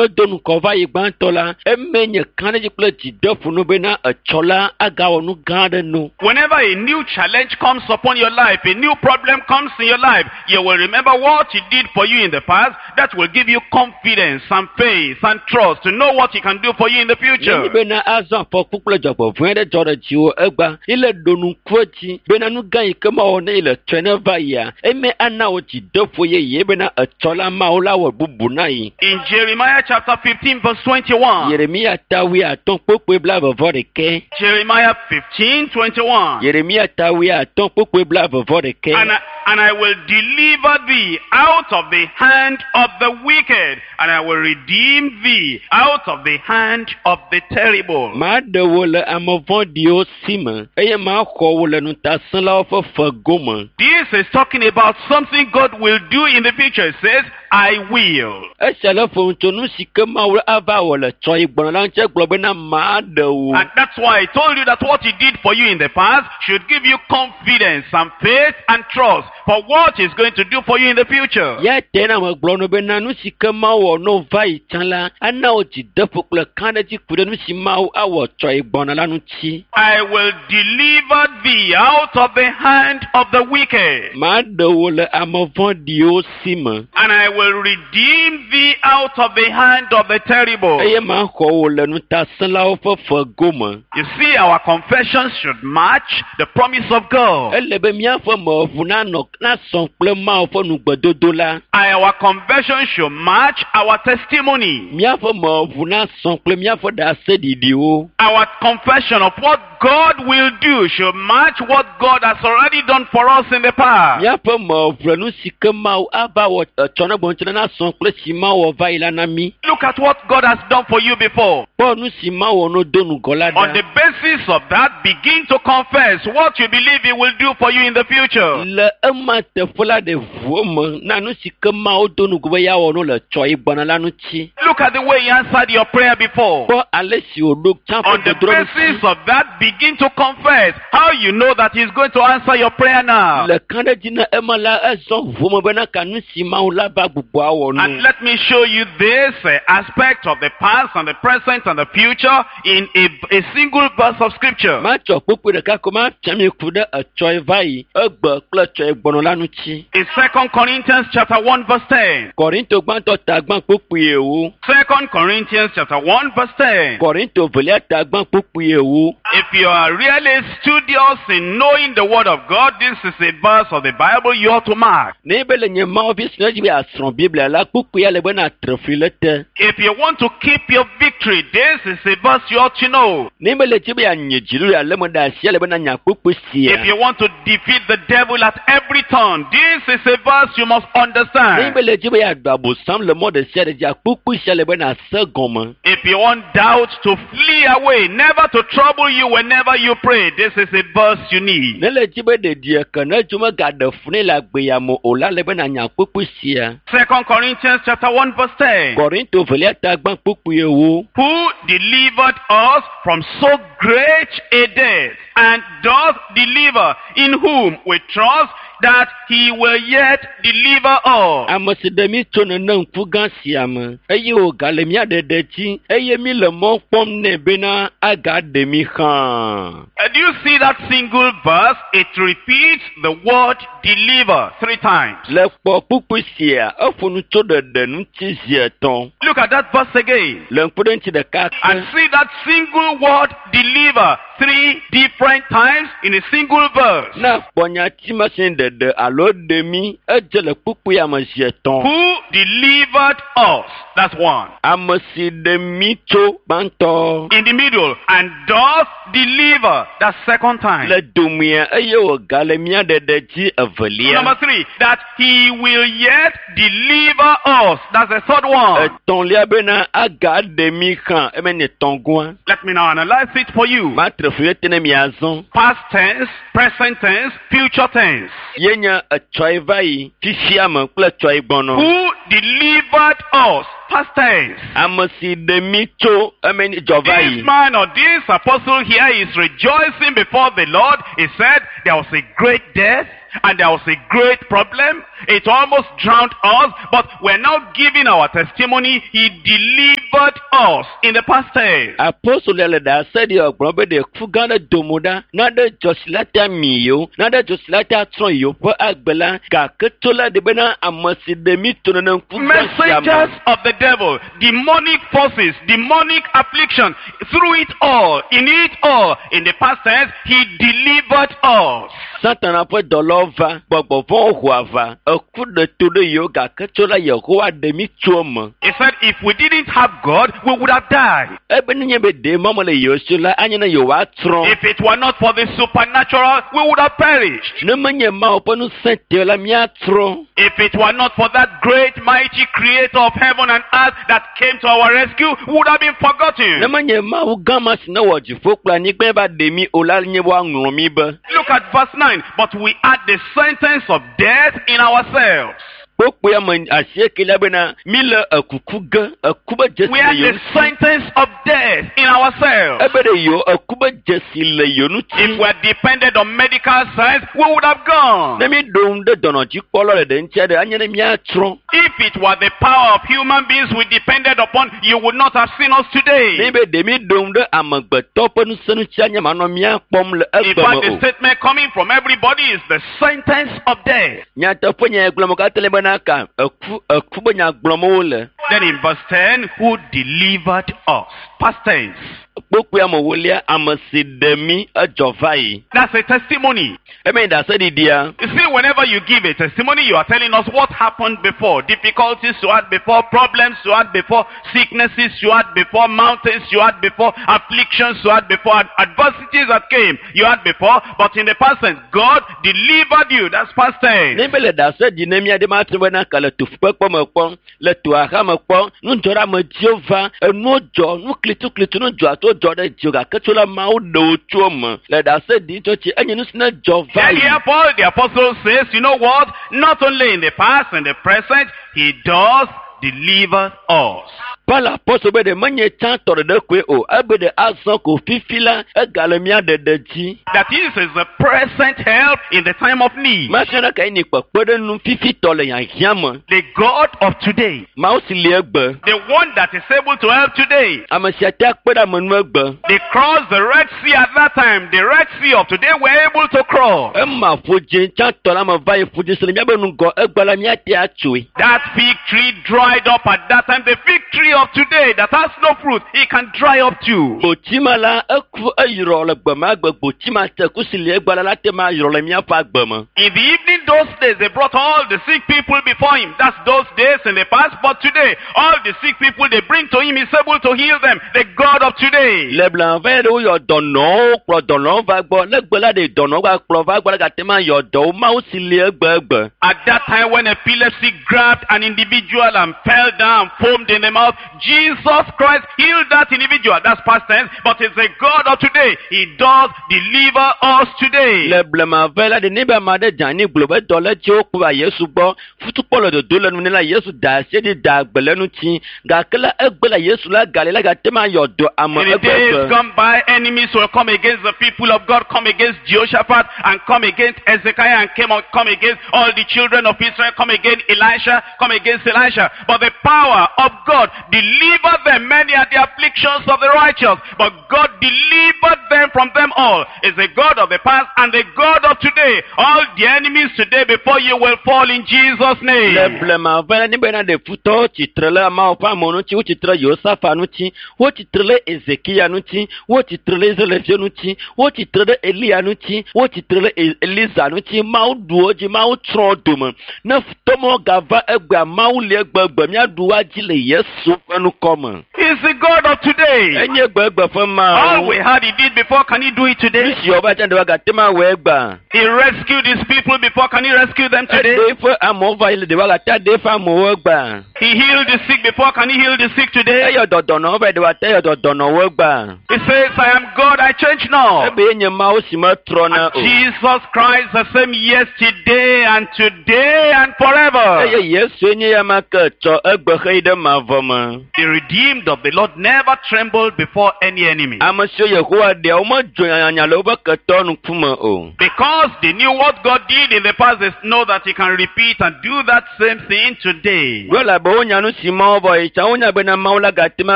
no do ŋgɔ va yi gbãtɔ la, eme nye kã ɖe dzi kple dzideƒo no bena etsɔ la agawɔ nu gã aɖe no. Whenever a new challenge comes upon your life, a new problem comes in your life, you will remember what he did for you in the past. That will give you confidence and faith and trust to know what he can do for you in the future. Nenye bena azɔ afɔku kple dzɔgbevɔ̃e aɖe dzɔ ɖe dziwò egbea, ile ɖo ŋku edzi bena nu gã yi ke mawɔ ne yi le tsɔe ne va yia, eme ana wò dzideƒo yeye bena etsɔ la Mawu la wɔ bubu na yi. In Jeremiah chapter 15 verse 21. Yeremia ta wuiatɔ̃ kpukpui blaeve vɔ ɖekɛ. Jeremiah 15, 21. Yeremia ta wuiatɔ̃ kpukpui blaeve vɔ ɖekɛ. And I will deliver thee out of the hand of the wicked, and I will redeem thee out of the hand of the terrible. Maɖe wò le ame vɔ̃ɖiwo si me eye maxɔ wò le ŋutasẽlawo ƒe fe gome. This is talking about something God will do in the future. It says, I will. Esia le ƒo nu tso nu si ke Mawu ava wɔ le tsɔ yi gbɔna la ŋuti egblɔ bena maɖe wò. And that's why I told you that what he did for you in the past should give you confidence and faith and trust for what he's going to do for you in the future. Ya te na megblɔ no bena nu si ke Mawu wɔ no va yi tsã la ana wò dzideƒo kple kãɖedzi ku ɖe nu si Mawu awɔ tsɔ yi gbɔna la ŋuti. I will deliver thee out of the hand of the wicked. Maɖe wò le ame vɔ̃ɖiwo si me. And I will redeem thee out of the hand of the terrible. Eye maxɔ wò le ŋutasẽlawo ƒe fe gome. You see, our confessions should match the promise of God. Ele be míaƒe meʋu nanɔ nasɔ kple Mawu ƒe nugbedodo la. Our confession should match our testimony. Míaƒe meʋu nasɔ kple míaƒe ɖaseɖiɖiwo. Our confession of what God will do should match what God has already done for us in the past. Míaƒe meʋu le nu si ke Mawu ava wɔ etsɔ ne gbɔ̃ la nasɔ kple si Mawu wɔ va yi la na mí. Look at what God has done for you before. Kpɔ nu si Mawu wɔ no do ŋgɔ la On ɖa. the basis of that, begin to confess what you believe He will do for you in the future. Le ema teƒe la ɖe ʋuo me na nu si ke Mawu do ŋgɔ be yeawɔ no le tsɔ yi gbɔna la ŋuti. Look at the way He answered your prayer before. Kpɔ ale si wòɖo tsã ƒe On the gbedodoɖa ŋuti. basis of that, begin to confess how you know that He's going to answer your prayer now. Le kã ɖe dzi na ema la ezɔ ʋuo me bena ka nu si Mawu la va gbugbɔ awɔ And nu. let me show you this aspect of the past and the present and the future in a single verse of scripture. Matsɔ kpukpui ɖeka ko mafia mi ku ɖe etsɔ yi va yi egbe kple etsɔ yi gbɔnɔ la ŋuti. In 2 Corinthians chapter 1 verse 10. Kɔrinto gbãtɔ ta gbã kpukpui ewo. 2 Corinthians chapter 1 verse 10. Kɔrinto velia ta gbã kpukpui ewo. If you are really studious in knowing the word of God, this is a verse of the Bible you ought to mark. Ne be le nye Mawu vi si ne dzi be yeasrɔ̃ Biblia la kpukpuia le bena tre fli le te. If you want to keep your victory, this is a verse you ought to know. Ne be le dzi be yeanye dziɖuɖu ale me ɖe asi ele bena nya kpukpui sia. If you want to defeat the devil at every turn, this is a verse you must Ne understand. be le dzi be yeaɖu abosam le mɔ ɖe sia ɖe dzia kpukpui sia le bena se gɔme. If you want doubt to flee away, never to trouble you whenever you pray, this is a verse you need. Ne le dzi be ɖeɖi eke ne dzo megaɖe fu nɛ le agbeyame o la le bena nya kpukpui sia. 2 Corinthians chapter 1 verse 10. Kɔrinto velia ta gbã kpukpui ewo. Who delivered us from so great a death, and doth deliver, in whom we trust that he will yet deliver us. Ame si ɖe mí tso nene ŋku gã sia me eye wògale mía ɖeɖe dzi eye mí le mɔ kpɔm nɛ bena agaɖe mí xaa. Do you see that single verse? It repeats the word deliver 3 times. Le kpɔ kpukpui sia eƒo nu tso ɖeɖe ŋuti zi etɔ̃. Look at that verse again. Le ŋku ɖe ŋuti ɖeka And ke. see that single word deliver 3 different times in a single verse. Ne kpɔ nyati ma si ɖeɖe alo ɖe mí edze le kpukpuia me zi etɔ̃. Who delivered us? That's one. Ame si ɖe mí tso gbãtɔ. In the middle, and doth deliver. That's second time. Le domea eye wògale mía ɖeɖe dzi evelia. Number 3, that he will yet deliver us. That's the third one. Etɔ̃lia bena agaɖe mí xã eme nye tɔ̃gɔa. Let me now analyze it for you. Matre fli ɖe te ne miazɔ. Past tense, present tense, future tense. Ye nye etsɔe va yi fifia me kple etsɔe gbɔnɔ. Who delivered us? Past tense. Ame si ɖe mi tso eme ni dzɔ va This yi. man or this apostle here is rejoicing before the Lord. He said there was a great death and there was a great problem. It almost drowned us, but we're now giving our testimony. He delivered us in the past tense. Apostol le ɖase ɖi gblɔ be ɖe ku gã ɖe domo ɖa na ɖe dzɔsi la ta mi yewo na ɖe dzɔsi la ta trɔ yewo ƒe agbe la gake tso la ɖe bena ame si ɖe mi to nenem ku gã sia me. Messengers of the devil, demonic forces, demonic affliction, through it all, in it all, in the past tense, he delivered us. Satana ƒe dɔlawo va, gbɔgbɔvɔ̃wo ho aʋa, eku ɖe to ɖe yewo gake tso la Yehowa ɖe mi tso eme. He said if we didn't have God, we would have died. Ebe nenye be ɖe mɔ mele yewo si o la, anye ne yewoatrɔ. If it were not for the supernatural, we would have perished. Ne menye Mawu ƒe ŋusẽ te o la, míatrɔ. If it were not for that great mighty creator of heaven and earth that came to our rescue, we would have been Ne forgotten. menye Mawu gã ma si ne wɔ dziƒo kple anyigba va ɖe mi o la, nye woaŋlɔ mi be. Look at verse 9. But we had the sentence of death in ourselves. Kpokpoe ame asiekelia bena mi le ekuku ge, eku be dzesi We le had yewo the ŋuti. sentence of death in ourselves. Ebe ɖe yewo eku be dzesi le yewo ŋuti. If we had depended on medical science, we would have gone. Ne mi ɖo ŋu ɖe dɔnɔdzikpɔlawo le ɖe ŋutia ɖe, anye ne míatrɔ. If it were the power of human beings we depended upon, you would not have seen us Ne today. be ɖe mi ɖo ŋu ɖe amegbetɔ ƒe ŋusẽ ŋuti anye manɔ mía kpɔm le In egbe fact, me the o. statement coming from everybody is the sentence of death. Nyateƒe nya gblɔm katã le bena ka eku eku be nya gblɔm wole. Then in verse 10, who delivered us? Past tense. Kpokpoe ame wolia ame si ɖe mi edzɔ va yi. That's a testimony. Eme ɖase ɖiɖia. You see, whenever you give a testimony, you are telling us what happened before. Difficulties you had before, problems you had before, sicknesses you had before, mountains you had before, afflictions you had before, adversities that came you had before. But in the past tense, God delivered you. That's past tense. Ne be le ɖase ɖi ne mía ɖe ma te bena ka le tofukpekpe me kpɔ, le toaxa me kpɔ, nudzɔɖeamedziwo va, enuwo dzɔ, nu klituklitu nu dzɔ ato dzɔ ɖe dziwò gake tso la Mawu ɖe wo tso eme. Le ɖase ɖi tso tsi enye nu si ne dzɔ va Then yi. here Paul the apostle says, you know what? Not only in the past and the present, he does deliver us. Paul apɔstol be ɖe menye tsãtɔ ɖeɖe koe o, ebe ɖe azɔ ko fifi la, egale mía ɖeɖe dzi. That is, is the present help in the time of need. Masina ɖe kae ni kpekpe ɖe nu fifitɔ le hiahiã me. The God of today. Mawu si li egbe. The one that is able to help today. Ame sia te akpe ɖe ame nu egbe. They crossed the Red Sea at that time. The Red Sea of today were able to cross. Ema ƒodzi tsãtɔ la me va yi ƒodzi si le míabe ŋgɔ egbe la míate atsoe. That fig tree dried up at that time. The fig tree of today that has no fruit, it can dry up too. Gbotsima la eku eyrɔ le gbe ma gbe gbotsima te ku si li egbe la la te ma yrɔ le míaƒe agbe me. In the evening those days, they brought all the sick people before him. That's those days in the past. But today, all the sick people they bring to him, he's able to heal them. The God of today. Le blema va yi ɖe woyɔ dɔnɔwo kplɔ dɔnɔwo va gbɔ ne gbe la ɖe dɔnɔwo va kplɔ va gbɔ la gate ma yɔ dɔwo Mawu si li egbe egbe. At that time when epilepsy grabbed an individual and fell down, foamed in the mouth, Jesus Christ healed that individual. That's past tense. But it's the God of today. He does deliver us today. Le blema va yi la ɖe ne be ame aɖe dze anyi gblɔ be dɔ le dzi wokplɔ va Yesu gbɔ futukpɔ le dodo le nu nɛ la Yesu da asi ɖi da agbe le ŋuti gake la egbe la Yesu la gali la gate ma yɔ dɔ ame In the egbe days egbe. gone by, enemies will come against the people of God, come against Jehoshaphat, and come against Ezekiah, and come against all the children of Israel, come against Elisha, come against Elisha. But the power of God delivered them. Many are the afflictions of the righteous, but God delivered them from them all. Is the God of the past and the God of today. All the enemies today before you will fall in Jesus' Le name. blema va la ne bena ɖe futɔwo tsitre le Mawu ƒe amewo ŋuti, wotsitre Yosafa ŋuti, wotsitre le Ezekiya ŋuti, wotsitre le Israelviwo ŋuti, wotsitre ɖe Eliya ŋuti, wotsitre ɖe Eliza ŋuti. Mawu ɖu wo dzi, Mawu tsrɔ̃ wo dome. Ne futɔmɔwo gava egbea, Mawu li egbegbe míaɖu woa dzi le Yesu ƒe ŋkɔ me. He He's the God of today. Enye gbegbe ƒe All Mawu. we had he did before, can he do it Nu today? si wòva tsã ɖe woagate ŋu awɔe gbã. He rescued his people before, can he rescue them today? Eɖe eƒe amewo va yi le ɖe woagate aɖe eƒe amewo gbã. He healed the sick before, can he heal the sick today? Eyɔ dɔdɔnɔwo va yi ɖe woate yɔ dɔdɔnɔwo gbã. He says, I am God, I change not. Ebe nye Mawu si metrɔna And o. Jesus Christ the same yesterday and today and forever. Eye Yesue nye ya ma ke tsɔ egbe xeyi ɖe mavɔ me. The redeemed of the Lord never trembled before any enemy. Ame siwo Yehowa ɖea, womedzo nyanyanya le woƒe ketɔ ŋkume o. Because they knew what God did in the past, they know that he can repeat and do that same thing today. Ɖo elabe wonya nu si Mawu vɔ yi tsã, wonya bena Mawu la gate ŋu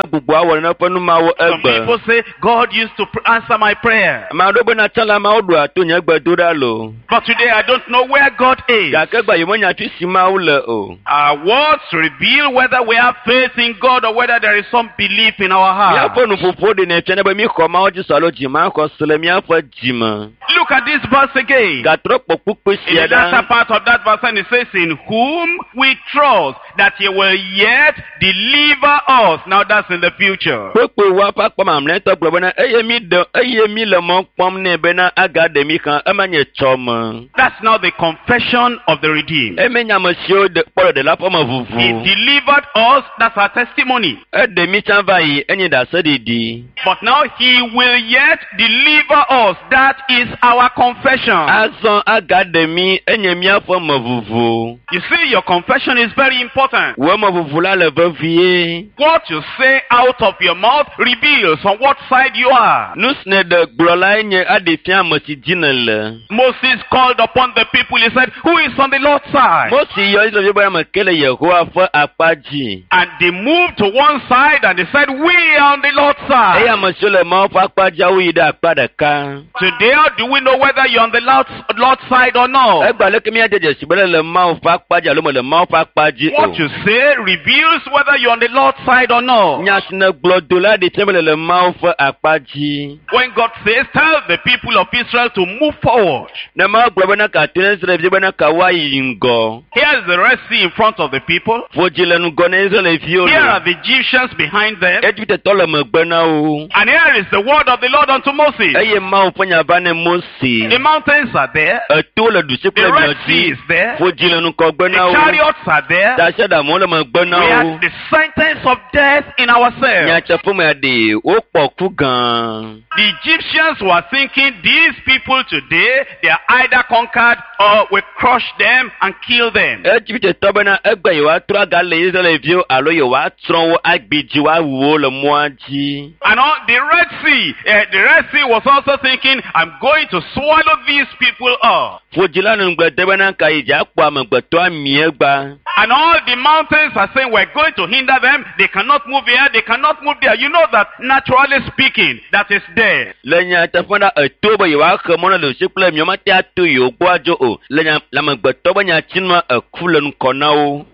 agbugbɔ awɔ neƒe nu mawo Some egbe. people say, God used to answer my prayer. Ame aɖewo bena tsã la Mawu ɖoa to nye gbedoɖa loo. But today I don't know where God is. Gake gba yemenya afi si Mawu le o. Our words reveal whether we have faith in God or whether there is some belief in our heart. Míaƒe nuƒoƒo ɖenɛ fiana be míxɔ Mawu dzi se alo dzimaxɔ se le míaƒe dzime. Look at this verse again. Gatrɔ kpɔ kpukpui In sia the latter ɖa. part of that verse, and it says, In whom we trust that he will yet deliver us. Now that's in the future. Kpekpe wa ƒe akpa mamlɛtɔ gblɔ bena eye mi ɖe eye mi le mɔ kpɔm nɛ bena agaɖe mi xlã ema nye tsɔme. That's now the confession of the redeemed. Eme nye ame siwo ɖe kpɔ ɖeɖe la ƒe me He vuvu. delivered us, that's our testimony. Eɖe mi tsã va yi enye ɖaseɖiɖi. But now he will yet deliver us. That is our confession. Azɔ agaɖe mi enye míaƒe me vuvu. You see, your confession is very important. Wò me vuvu la le vevie. What you say out of your mouth reveals on what side you are. Nu si nèɖe gblɔ lae nye aɖe fia ame si dzi nèle. Moses called upon the people. He said, Who is on the Lord's side? Mose yɔ Israelviwo be ame ke le Yehowa ƒe akpa dzi. And they moved to one side and they said, We are on the Lord's Eye side. ame siwo le Mawu ƒe akpa dzia woyi ɖe akpa ɖeka. Today, how do we know whether you're on the Lord's side or not? Egba leke míade dzesi be le Mawu ƒe akpa dzi alo mele Mawu ƒe akpa dzi o. What you say reveals whether you're on the Lord's side or not. Nya si nègblɔ do la ɖe fia be le Mawu ƒe akpa dzi. When God says, Tell the people of Israel to move forward. Ne Mawu gblɔ bena ka to ne Israelviwo bena ka woayi ŋgɔ. Here is the Red Sea in front of the people. Ƒodzi le ŋgɔ na Israelviwo Here lo. are the Egyptians behind them. Egiptetɔ le megbe na wo. And here is the word of the Lord unto Moses. Eye Mawu ƒe nya va ne Mose. The mountains are there. Eto le ɖusi The kple Red miɔ Sea dzi. is there. Ƒodzi le ŋgɔgbe The na wo. chariots are there. Tasiaɖamwo le megbe na We wo. had the sentence of death in ourselves. Nyateƒe mea ɖe wokpɔ ku gã. The Egyptians were thinking these people today, they are either conquered or we crush them and kill them. Egiptetɔ bena egbe yewoatrɔ aga le Israelviwo alo yewoatsrɔ̃ wo agbidzi woawu wo le mɔa dzi. And all the Red Sea, the Red Sea was also thinking, I'm going to swallow these people up. Ƒodzi la nu ŋugble de bena ka yi dzi akpɔ amegbetɔ amie gba. And all the mountains are saying, we're going to hinder them. They cannot move here. They cannot move there. You know that naturally speaking, that is there. Le nyateƒe la eto be yewoaxe mɔ na ɖusi kple miɔ mate ato yewo gbɔ adzo o. Le nya le amegbetɔ be nyatsinua eku le ŋkɔ na wo.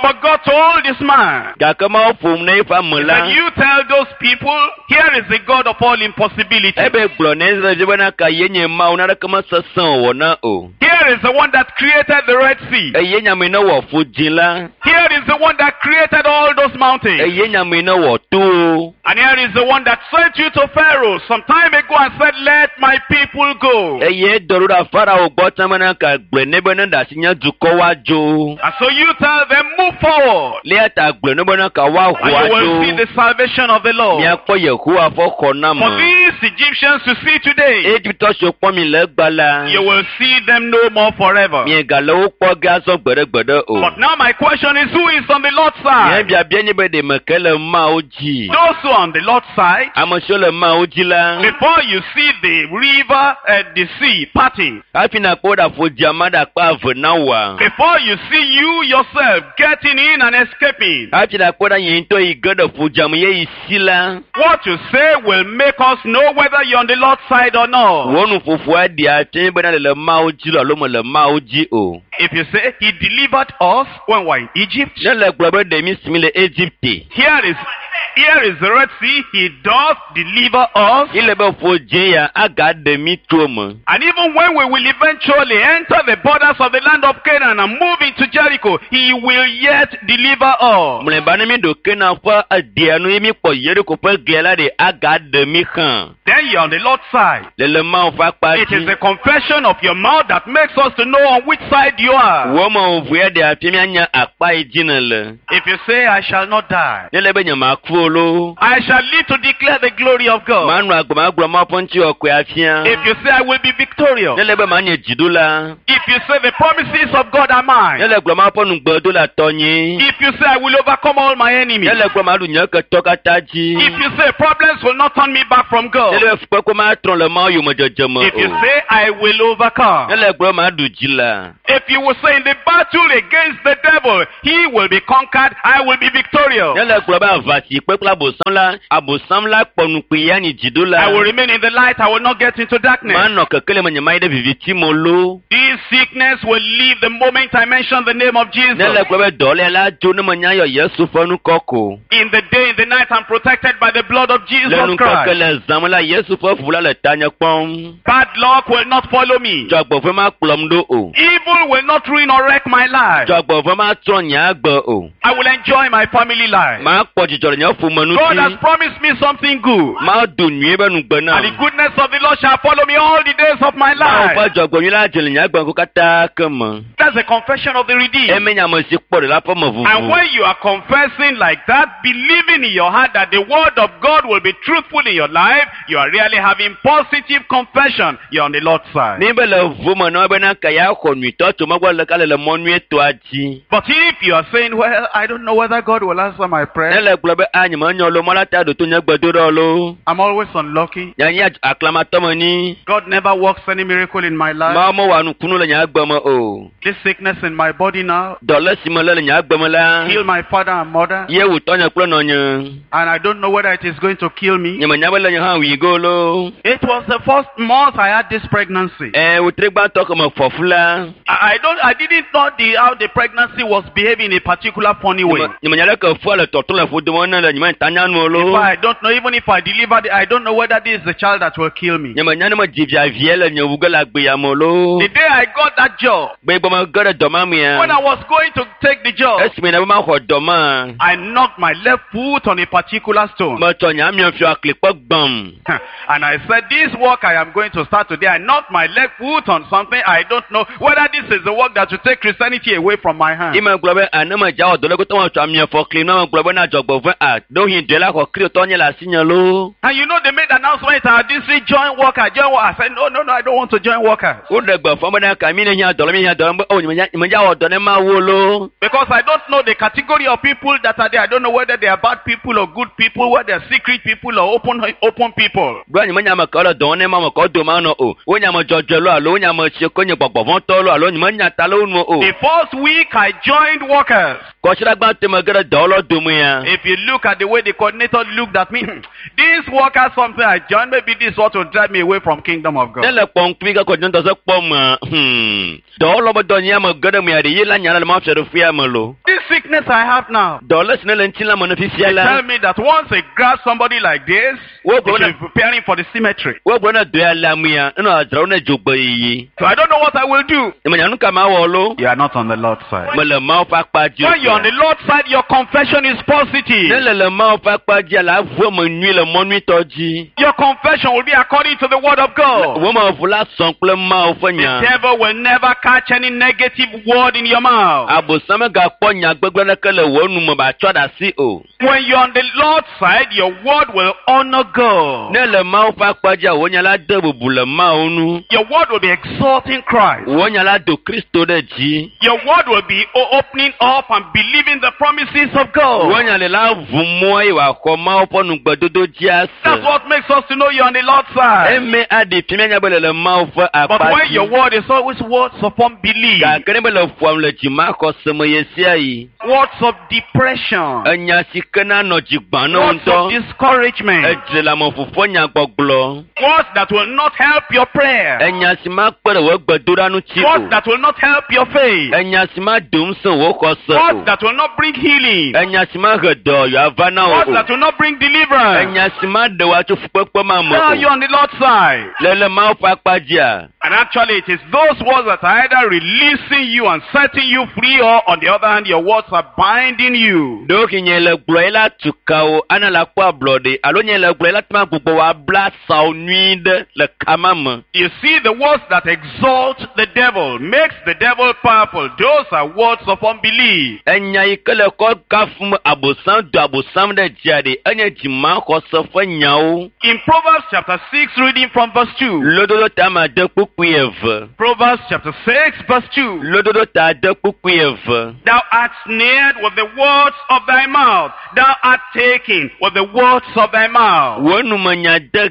But God told this man, Gake Mawu ƒom na eƒe ame la. that you tell those people, here is the God of all impossibility. Ebe gblɔ na Israelviwo bena ka ye nye Mawu naneke mesesẽ wòwɔ na o. Here is the one that created the Red Sea. Eye nye ame yi ne wɔ ƒodzi la. Here is the one that created all those mountains. Eye nye ame yi ne wɔ towo. And here is the one that sent you to Pharaoh some time ago and said, let my people go. Eye dɔ ɖo ɖa Farao gbɔ tsã bena ka gblɔe nɛ be ne ɖe asi nye dukɔ woadzo. And so you tell them, move forward. Le eya ta gblɔe nɛ bena ka woaho And you will see adzo. the salvation of the Lord. Miakpɔ Yehowa ƒe For xɔname. these Egyptians to see today, Egiptɔ siwo kpɔ mi le egba la, you will see them no more forever. miegale wo kpɔ ge azɔ gbeɖegbeɖe o. But now my question is, who is on the Lord's Nye side? biabia nye be ɖe meke le Mawu dzi. Those who are on the Lord's side, Ame siwo le Mawu dzi la, before you see the river and the sea parting, hafi nakpɔ ɖe aƒodzia ma ɖe akpa eve na woa. before you see you yourself getting in and escaping, Hafi nakpɔ ɖe nye ŋutɔ yi ge ɖe ƒodzia me ye yi si la, what you say will make us know whether you're on the Lord's side or not. wò nuƒoƒoa ɖia fia bena le le Mawu dzi lo alo mele Mawu dzi o. If you say he delivered us when we were in Egypt, Ne le gblɔ be ɖe mi si mi le Egipte, here is Here is the Red Sea, he doth deliver us. Ile be ƒo dze ya agaɖe mi tso eme. And even when we will eventually enter the borders of the land of Canaan and move into Jericho, he will yet deliver us. Mlɔeba ne mi ɖo Kanaan ƒe edea nu ye mi kpɔ Yeriko ƒe glia la ɖe agaɖe mi hã. Then you're on the Lord's side. Le le Mawu ƒe akpa It is dzi. the confession of your mouth that makes us to know on which side you are. Wɔ me ʋu ya ɖe afia mianya akpa yi dzi ne le. If you say, I shall not die, Ne le be nyemaku o loo. I shall live to declare the glory of God. Manɔ agbe magblɔ Mawu ƒe ŋutikɔkɔe afia. If you say, I will be victorious. Ne le be manye dziɖula. If you say, the promises of God are Ne mine. le gblɔ Mawu ƒe nugbedo le tɔnye. If you say, I will overcome all my enemies. Ne le gblɔ maɖu nye ketɔ katã dzi. If you say, problems will not turn me back from Ne God. le be fukpekpe matrɔ le Mawu yomedzedze me If you o. say, I will overcome. Ne le gblɔ maɖu dzi la. If you will say, in the battle against the devil, he will be conquered, I will be victorious. Ne le gblɔ be aʋa si kpe kple abosam la, abosam la kpɔ nukpui ya nyi dziɖula. I will remain in the light, I will not get into darkness. Manɔ kekeli me nyemayi ɖe viviti me o loo. This sickness will leave the moment I mention the name of Jesus. Ne le gblɔ be dɔléa la dzo ne menya yɔ Yesu ƒe ŋkɔ ko. In the day, in the night, I'm protected by the blood of Jesus Le ŋkeke Christ. le zã me la, Yesu ƒe ʋu la le tanye kpɔm. Bad luck will not follow me. Dzɔgbevɔ̃e makplɔm ɖo o. Evil will not ruin or wreck my life. Dzɔgbevɔ̃e matrɔ nye agbe o. I will enjoy my family life. Makpɔ dzidzɔ le nye ƒome God has ŋuti. promised me something good. Mado nyuie be nugbe And the nam. goodness of the Lord shall follow me all the days of my Mawu ƒe life. dzɔgbevɔ̃e la dze le nye agbe ŋku katã ke me. That's the confession of the redeemed. Eme nye ame si kpɔ ɖe la ƒe me And vuvu. when you are confessing like that, believing in your heart that the word of God will be truthful in your life, you are really having positive confession. You're on the Lord's side. Ni be le ʋu me na wo bena ke ya xɔ nyuitɔ tso megbɔ le ka le le mɔ nyuietɔa dzi. But if you are saying, well, I don't know whether God will answer my Ne prayer. le gblɔ be a nyemenya lo mɔ la ta ɖo to nye gbedoɖa lo. I'm always unlucky. Nye nye aklamatɔ me ni. God never works any miracle in my life. Mawu mewɔa nukunu le nye agbe me o. This sickness in my body now Dɔlé si me lé le nye agbe me la, killed my father and mother. ye wòtɔ nye kple nɔnye. And I don't know whether it is going to kill me. Nyemenya be le nye hã wui go lo. It was the first month I had this pregnancy. Ɛ wòtre gbãtɔ ke me fɔ fu la, I didn't know how the pregnancy was behaving in a particular funny way. nyemenya ɖe ke fua le tɔtrɔ le ƒodome ne le nyemenya tanya nu o If lo. I don't know, even if I delivered it, I don't know whether this is the child that will kill me. Nyemenya ne medzi via vie le nye wu ge le agbe ya me o lo. The day I got that job, Gbe gbɔ me ge ɖe dɔ ma mea, when I was going to take the job, esime ne be maxɔ dɔ ma, I knocked my left foot on a particular stone. metsɔ nye amiɔfiɔ aklikpe gbam. And I said, this work I am going to start today, I knocked my left foot on something. I don't know whether this is the work that will take Christianity away from my hand. Ime gblɔ be ane medza wɔ dɔ le kotɔ metsɔ amiɔfɔ kli na megblɔ be na dzɔgbevɔ̃e a ɖewohĩ dɔe la xɔ kristotɔ nye le asinye lo. And you know, they made announcement, our district join worker, join worker. I said, no, no, no, I don't want to join workers. Woɖe gbe fɔ bena ka mi ne hiã dɔ la mi hiã dɔ la be o nyemedza wɔ dɔ ne mawu lo. Because I don't know the category of people that are there. I don't know whether they are bad people or good people, whether they are secret people or open people. Gblɔ nyemenya ame kewo le dɔ wɔm ne ma ame kewo dome anɔ o. Wonye ame dzɔdzɔe lo alo wonye ame si ke nye gbɔgbɔvɔ̃tɔ lo alo nyemenya ta le wo nu o. The first week I joined workers. Kɔsiɖagbãtɔ me ge ɖe dɔwɔlawo domea. If you look at the way the coordinator looked at me, this worker something I joined, maybe this what will drive me away from kingdom of Ne God. le kpɔ ŋkuvi ke kɔdzinɔtɔ se kpɔ me, dɔwɔlawo be dɔ nye ame ge ɖe mea ɖe ye la nya la le Mawu fiaɖuƒea me lo. This sickness I have now, Dɔlé si ne le ŋutilã me ne fifia they la, tell me that once they grab somebody like this, Wo they gblɔ should be preparing for the cemetery. wogblɔ ne dɔe le amea, enɔ adzrawo ne dzogbe yiyi. So I don't know what I will do. Nyemenya nu ka mawɔ lo. You are not on the Lord's side. Mele Mawu ƒe akpa dzi. When you're on the Lord's side, your confession is Ne positive. le le Mawu ƒe akpa dzia, le avu eme nyui le mɔ nyuitɔ dzi. Your confession will be according to the word of God. Wo me ʋu la sɔn kple Mawu ƒe The nya. devil will never catch any negative word in your mouth. Abosam megakpɔ nya gbegblẽ ɖeke le wò nu me ba tsɔ ɖe asi o. When you're on the Lord's side, your word will honor God. Ne le Mawu ƒe akpa dzia, wò nya la de bubu le Mawu ŋu. Your word will be exalting Christ. Wò nya la do Kristo ɖe dzi. Your word will be opening up and believing the promises of Wò God. nya le la ʋu mɔ eye wòaxɔ Mawu ƒe nugbedodo to dzia That's se. what makes us to know you're on the Lord's side. Eme aɖi fi míanya be le le Mawu ƒe But akpa when your dzi. word is always words of unbelief, Gake ne be le ƒoam le dzimaxɔse me ɣe sia ɣi, words of depression, enya si ke na nɔ dzi gbã na wo words of ŋutɔ, discouragement, edze le ame ƒoƒo nyagbɔgblɔ, words that will not help your prayer, enya si ma kpe ɖe wò gbedoɖa ŋuti words o, that will not help your faith, enya si ma do ŋusẽ wò xɔse words o, that will not bring healing, enya si ma he dɔyɔ ava na wò words o, that will not bring deliverance. enya si ma ɖe wò atso fukpekpe ma me Now o. you're on the Lord's side. Le le Mawu ƒe akpa dzia, And actually, it is those words that are either releasing you and setting you free, or on the other hand, your words are binding you. ɖewohĩ nye le gblɔ ye la tu ka wo ana la kpɔ ablɔɖe alo nye le gblɔ ye la tema gbugbɔ wò abla sawo nyui ɖe le kama me. You see, the words that exalt the devil, makes the devil powerful, those are words of unbelief. Enya yi ke le kɔ kafum abosam do abosam ɖe dzia ɖe enye dzimaxɔse ƒe nyawo. In Proverbs chapter 6, reading from verse 2. Lododo ta ma de kpukpui eve. Proverbs chapter 6, verse 2. Lododo ta de kpukpui eve. Thou art snared with the words of thy mouth. Thou art taken with the words of thy mouth. Wò numenya de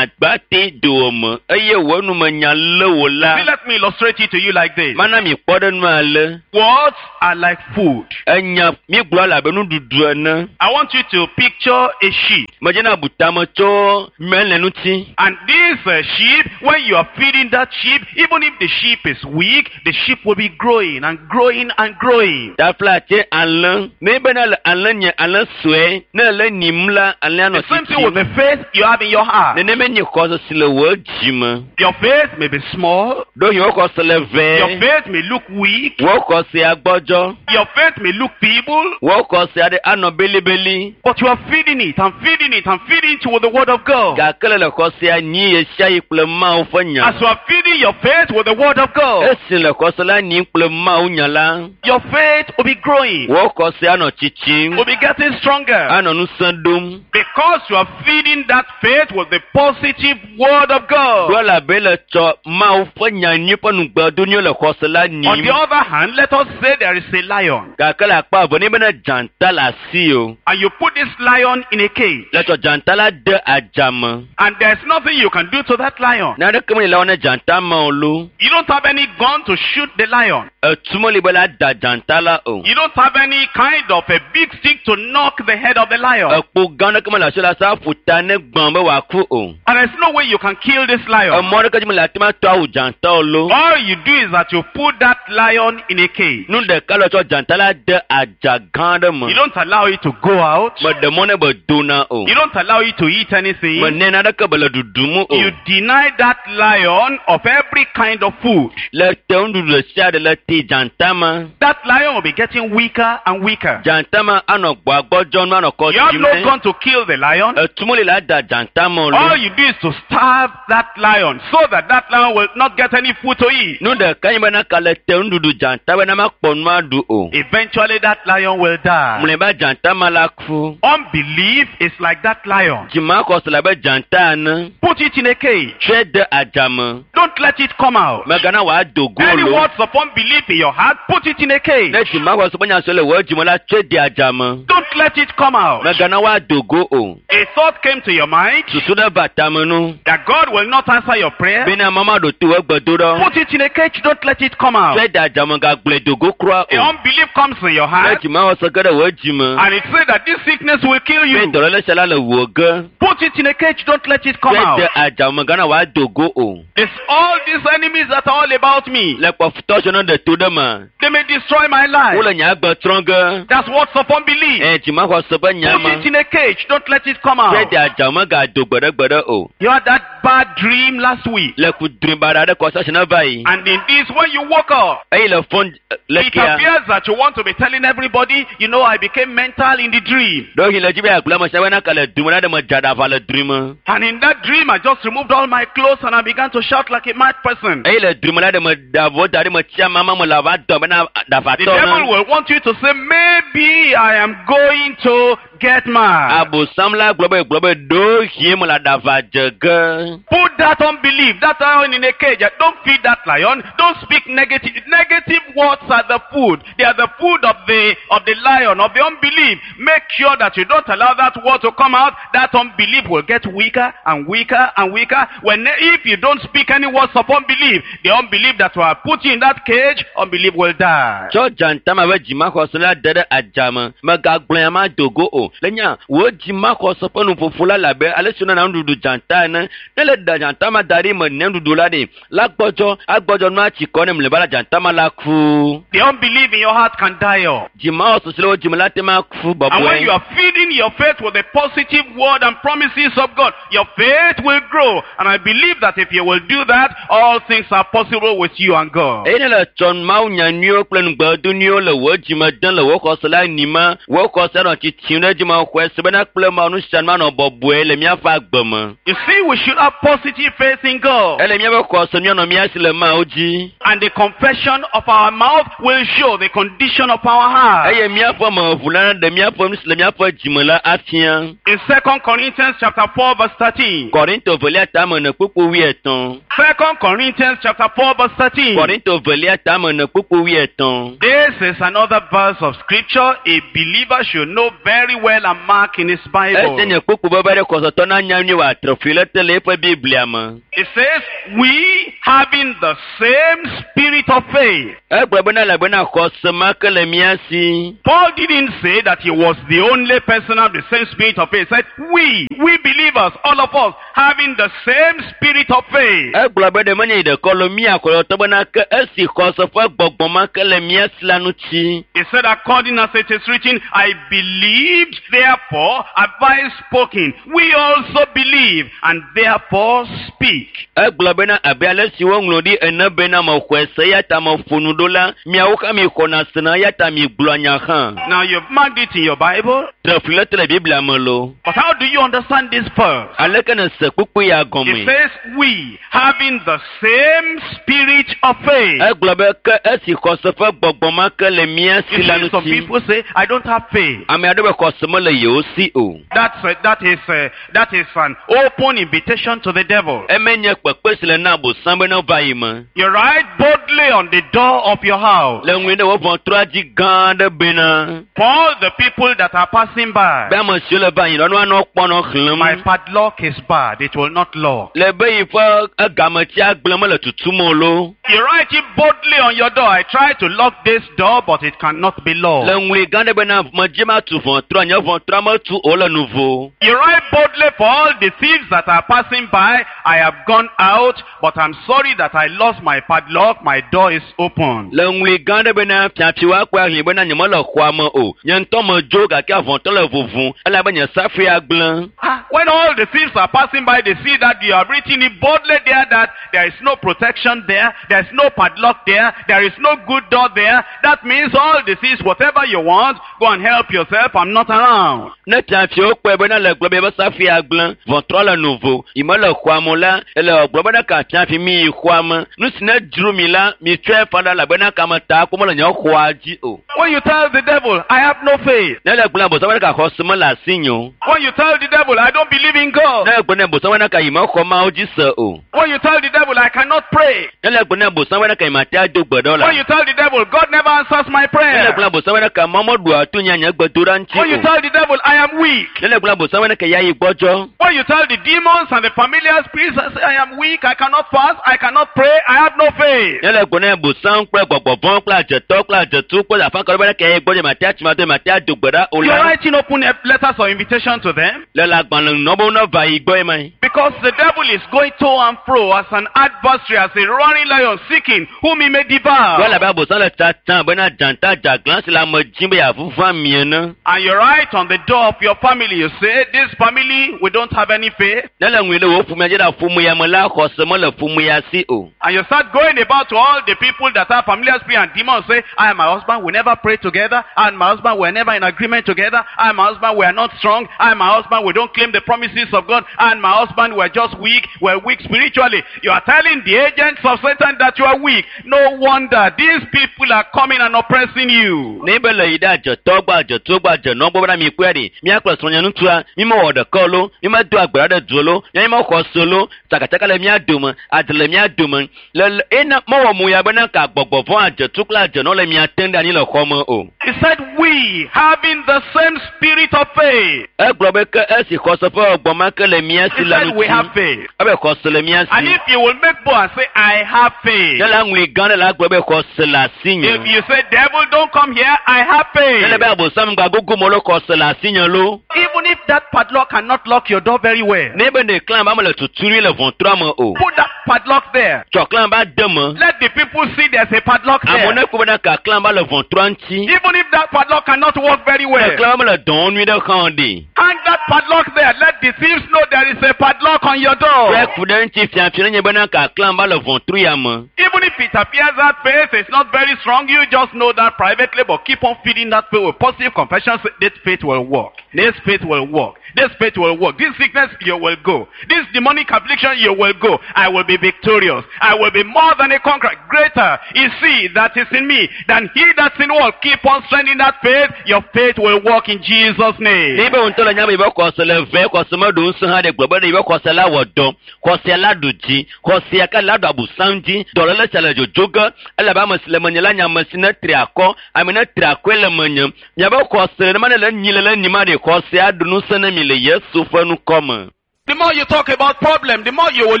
ganyagbate dowòme eye wò numenya lé wò See, la. let me illustrate it to you like this. Mana mi kpɔ ɖe nu ale. Words are like food. Enya mi gblɔ le abe nuɖuɖu ene. I want you to picture a sheep. Medzena bu tame tso mele ŋuti. And this sheep, when you are feeding that sheep, even if the sheep is weak, the sheep will be growing and growing and growing. Tafla tse alẽ. Ne bena le alẽ nye alẽ sue, ne le nyim la, alẽa The nɔ same thing with tsitsim. the faith you have in your heart. Nenema nye xɔse si le wò dzi me. Your faith may be small. Ɖewohĩ wò xɔse le Your vɛ. faith may look weak. Wò xɔsea gbɔdzɔ. Your faith may look feeble. Wò xɔsea ɖe anɔ belibeli. But you are feeding it and feeding it and feeding it with the word of God. Gake le le xɔsea nyi ɣe sia ɣi kple Mawu ƒe nya. As you are feeding your faith with the word of God, Esi le xɔse la nyim kple Mawu nya la, your faith will be growing, wò xɔsea nɔ tsitsim, will be getting stronger. anɔ ŋusẽ ɖom. Because you are feeding that faith with the positive word of God. Ɖo elabe le tsɔ Mawu ƒe nya nyui ƒe nugbedo le xɔse la On nyim. the other hand, let us say there is a lion. Gake le akpa eve ne bena dzata le asi o. And you put this lion in a cage. Le tsɔ dzata la de adzame. And there's nothing you can do to that lion. Naneke meli la wɔ ne dzata ma o lo. You don't have any gun to shoot the lion. Etu meli be la da dzata la o. You don't have any kind of a big stick to knock the head of the lion. Ekpo gã ɖeke mele asi la sa ƒo ta ne gbã be wòaku o. And there's no way you can kill this lion. Emɔ ɖeke dzi mele ate ma tɔ awu dzata o lo. All you do is that you put that lion in a cage. Nu ɖeka le tsɔ dzata la de adza gã ɖe me. You don't allow it to go out. Meɖe mɔ ne be dona o. You don't allow it to eat anything. Menɛ naneke be le ɖuɖum o. You deny that lion of every kind of food. Le te nuɖuɖu ɖe sia ɖe le te dzata ma. That lion will be getting weaker and weaker. Dzata ma anɔ gbɔagbɔdzɔ nu anɔ kɔ You have dzim no ne. gun to kill the lion. Etu meli la da dzata ma o lo. All you do is to starve that lion so that that lion will not get any food to eat. Nu ɖeka nye bena ka le te nuɖuɖu dzata bena makpɔ nu aɖu o. Eventually that lion will die. Mlɔeba dzata ma la ku. Unbelief is like that lion. Dzimaxɔse le abe dzata ene. Put it in a cage. Tsɔe de adzame. Don't let it come out. Mègana wòado go Any lo. words of unbelief in your heart, put it in a cage. Ne dzimaxɔse ƒe nya siwo le wò dzime la, tsɔe de adzame. Don't let it come out. Mègana woado go o. A thought came to your mind Susu ɖe va tame nu. that God will not answer your prayer. Bena mama ɖo to wò gbedoɖɔ. Put it in a cage. Don't let it come out. Tsɔe de adzame gagblɔe do go kura The o. unbelief comes in your Ne heart dzimaxɔse ge ɖe wò dzime. and it says that this sickness will kill Be you. dɔléle sia la le wò ge. Put it in a cage. Don't let it come Tsɔe out. de adzame gana wòado go o. It's all these enemies that are all about me. Le kpɔfutɔ siwo ne ɖe to ɖe me. They may destroy my life. Wole nye agbe trɔ ge. That's what's of unbelief. Ɛ dzimaxɔse ƒe nya Put ma. it in a cage. Don't let it come Tsɔe out. de adzame gado gbeɖegbeɖe o. You had that bad dream last week. Le kudri baɖa ɖe kɔsɔ si ne va yi. And in this, when you woke up, Eye le fɔn le it kia. appears that you want to be telling everybody, you know, I became mental in the dream. Ɖewohĩ le dzi be yeagblɔ ame sia bena ke le dome la ɖe me dza ɖaʋa le dri me. And in that dream, I just removed all my clothes and I began to shout like a mad person. Eye le dri me la ɖe me ɖe avɔ da ɖe me tsia mama me le ava dɔ bena The ɖaʋatɔ devil ne. will want you to say, maybe I am going to get mad. Abosam la gblɔ be gblɔ be ɖewohĩ me le aɖaʋa dze ge. te. Put that unbelief, that lion in a cage. Don't feed that lion. Don't speak negative. Negative words are the food. They are the food of the lion, of the unbelief. Make sure that you don't allow that word to come out. That unbelief will get weaker and weaker and weaker. If you don't speak any words of unbelief, the unbelief that will put you in that cage, unbelief will die. Tsɔ dzata ma ƒe dzimaxɔse la de ɖe adzame. Megagblɔ ya ma dogo o. Le nya, wò dzimaxɔse ƒe nuƒoƒo la le abe ale si wonana nuɖuɖu dzata ene. Ne le da dzata ma da ɖi me ne nuɖuɖu la ɖi, la gbɔdzɔ, agbɔdzɔ nua tsi kɔ ne mlɔeba la dzata ma la ku. The unbelief in your heart can die off. Dzimaxɔse si le wò dzime la te ma ku And when you bɔbɔe. are feeding your faith with the positive word and promises of God, your faith will grow. And I believe that if you will do that, all things are possible with you and God. Eye ne le tsɔ Mawu nya nyuiwo kple nugbedu nyuiwo le wò dzime dem le wò xɔse la nima, wò xɔse nɔ tsitsim ɖe dzime xɔe se bena kple Mawu nu sia nu manɔ bɔbɔe le míaƒe agbe me. You see, we should have positive faith in God. Ele míaƒe xɔse míanɔ mía si le Mawu dzi. And the confession of our mouth will show the condition of our heart. Eye míaƒe meʋu la ɖe míaƒe nu si le míaƒe dzime la afia. In 2 Corinthians chapter 4 verse 13. Korinto velia tame ene kpukpu wuietɔ̃. 2 Corinthians chapter 4 verse 13. Korinto velia tame ene kpukpu wuietɔ̃. This is another verse of scripture a believer should know very well and mark in his Bible. Ese nye kpukpu bebe ɖe xɔsetɔ na nya nyuie wòatre fli ɖe te le eƒe Biblia me. It says, we having the same spirit of faith. Egblɔ bena elabena xɔse ma ke le mía si. Paul didn't say that he was the only person of the same spirit of faith. He said, we believers, all of us, having the same spirit of faith. Egblɔ be ɖe menye yi ɖeka lo mía xɔsetɔ bena ke esi xɔse ƒe gbɔgbɔ ma ke le mía si la ŋuti. He said, according as it is written, I believed, therefore have I spoken. We also believe, and therefore speak. Egblɔ bena abe ale si woŋlɔ ɖi ene bena mexɔe se eya ta meƒo nu ɖo la, miawo hã mixɔna sena eya ta migblɔa nya hã. Now you've marked it in your Bible. Tre fli ɖe te le Biblia me lo. But how do you understand this verse? Aleke ne se kpukpui ya It gɔme? says, we having the same spirit of faith. Egblɔ be ke esi xɔse ƒe gbɔgbɔ ma ke le mía You si la see, some ŋuti. people say, I don't have faith. Ame aɖewo be xɔse mele yewo si o. That is an open invitation to the devil. Eme nye kpekpe si le na Abosam be ne va yi me. You write boldly on the door of your house. Le ŋui ɖe wò ʋɔtrua dzi gã aɖe bena For all the people that are passing by, be ame siwo le va yi la, nua nɔ kpɔ nɔ xlẽm. my padlock is bad, it will not lock. Le be yi ƒe egametsi agblẽ mele tutum o lo. You write it boldly on your door. I try to lock this door, but it cannot be Le locked. ŋui gã ɖe bena medzi ma tu ʋɔtrua, nye ʋɔtrua metu o le nuvo. You write boldly for all the thieves that are passing by, I have gone out, but I'm sorry that I lost my padlock, my door is open. Le ŋui gã ɖe bena fiafiwo akpɔe ahlẽ bena nyemele xɔa me o. Nye ŋutɔ medzo gake avɔtɔ le vuvum elabe nye safui agblẽ. When all the thieves are passing by, they see that you have written it boldly there that there is no protection there, there is no padlock there, there is no good door there. That means all the thieves, whatever you want, go and help yourself, I'm not around. Ne fiafiwo kpɔe bena le gblɔ be be safui agblẽ, ʋɔtrɔ le nuvo, yi mele xɔa me o la, ele gblɔ bena ka fiafi mi yi xɔa me. Nu si ne dzro mi la, mi tsɔe fa ɖa elabena kameta ko mele nye xɔa dzi o. When you tell the devil, I have no faith. Ne le gblɔ Abosam bena ka xɔse mele asinye o. When you tell the devil, I don't believe in God. Ne le gblɔ ne Abosam bena ka yi mexɔ Mawu dzi se o. When you tell the devil, I cannot pray. Ne le gblɔ ne Abosam bena ka yi mate ado gbe ɖe o la. When you tell the devil, God never answers my Ne le prayer. gblɔ Abosam bena ka Mawu meɖua to nye nye gbedoɖa ŋuti When you o. tell the devil, I am weak. Ne le gblɔ Abosam bena ka ya yi gbɔdzɔ. When you tell the demons and the familiar spirits, I say, I am weak, I cannot fast, I cannot pray, I have no faith. Ne le gblɔ ne Abosam kple gbɔgbɔvɔ̃ kple adzetɔ kple adzetu kple afakɔ bena ka ya yi gbɔdzɔ mate atsi mate mate ado gbe ɖa o You're la. writing open letters of invitation to them Le le agbalẽ nɔ be woneva yi gbɔe ma. because the devil is going to and fro as an adversary, as a roaring lion seeking whom he may devour. Wala be Abosam le tsatsam bena dzata dzaglã si le ame dzim be yeavuvu ami ene. And you write on the door of your family, you say, this family, we don't have any faith. Ne le ŋui ɖe wò ƒomea dzi ɖe ƒome ya me la, xɔse mele ƒome ya si o. And you start going about to all the people that have familiar spirit and demons, say, I and my husband, we never pray together. I and my husband, we're never in agreement together. I and my husband, we are not strong. I and my husband, we don't claim the promises of God. I and my husband, husband were just weak, we're weak spiritually. You are telling the agents of Satan that you are weak. No wonder these people are coming and oppressing you. Ne be le yi ɖe adzetɔ gbɔ adzeto gbɔ adzenɔ gbɔ bena mi kpɔe ɖi míakplɔ srɔ̃nye ŋutsua mi mewɔ ɖeka o lo mi medo agbe ɖe du o lo mi mexɔ se o lo tsakatsaka le mía dome adze le mía dome le le ena mewɔ mu ya bena ka gbɔgbɔ vɔ adzetu kple adzenɔ le mia tem ɖe anyi le xɔ me o. He said, we having the same spirit of faith. Egblɔ be ke esi xɔse ƒe gbɔgbɔ ma ke le mía He si la said, we ŋuti have faith. ebe xɔse le mía And si. if you will make bold and say, I have faith. Ne la ŋlɔe gã ɖe la gblɔ be xɔse le asinye. If you say, devil, don't come here, I have Ne le faith. be abosam gba gogo me lo xɔse le asinye lo. Even if that padlock cannot lock your door very well, Ne be ne klã ba mele tuturi le ʋɔtrua me o. put that padlock there. Tsɔ klã ba de me. Let the people see there's a padlock Amewo there. ne kpɔ bena ka klã ba le ʋɔtrua ŋuti. Even if that padlock cannot work very Ne well, klã ba mele dɔn nyui ɖe hã o ɖi. hang that padlock there. Let the thieves know there is a padlock on your door. Kple ku ɖe ŋuti fiafia ne nye bena ka klã ba le ʋɔtru ya me. Even if it appears that faith is not very strong, you just know that privately, but keep on feeding that faith with positive confessions. This faith will work. This faith will work. This faith will work. This sickness, you will go. This demonic affliction, you will go. I will be victorious. I will be more than a conqueror. Greater is he that is in me than he that's in the world. Keep on strengthening that faith. Your faith will work in Jesus' name. Ne be ŋutɔ le nya be yibe xɔse le ve xɔse meɖo ŋusẽ hã ɖe gblɔ be ne yibe xɔse la wɔ dɔ xɔsea la ɖu dzi xɔsea ke la ɖu abosam dzi dɔléle sia le dzodzo ge elabe ame si le menye la nye ame si ne tri akɔ ame ne tri akɔe le menye miabe xɔse ne ma ne le nyi le le nyi ma ɖe xɔsea ɖu ŋusẽ ne mi le Yesu ƒe ŋkɔ me. The more you talk about problem, the more you will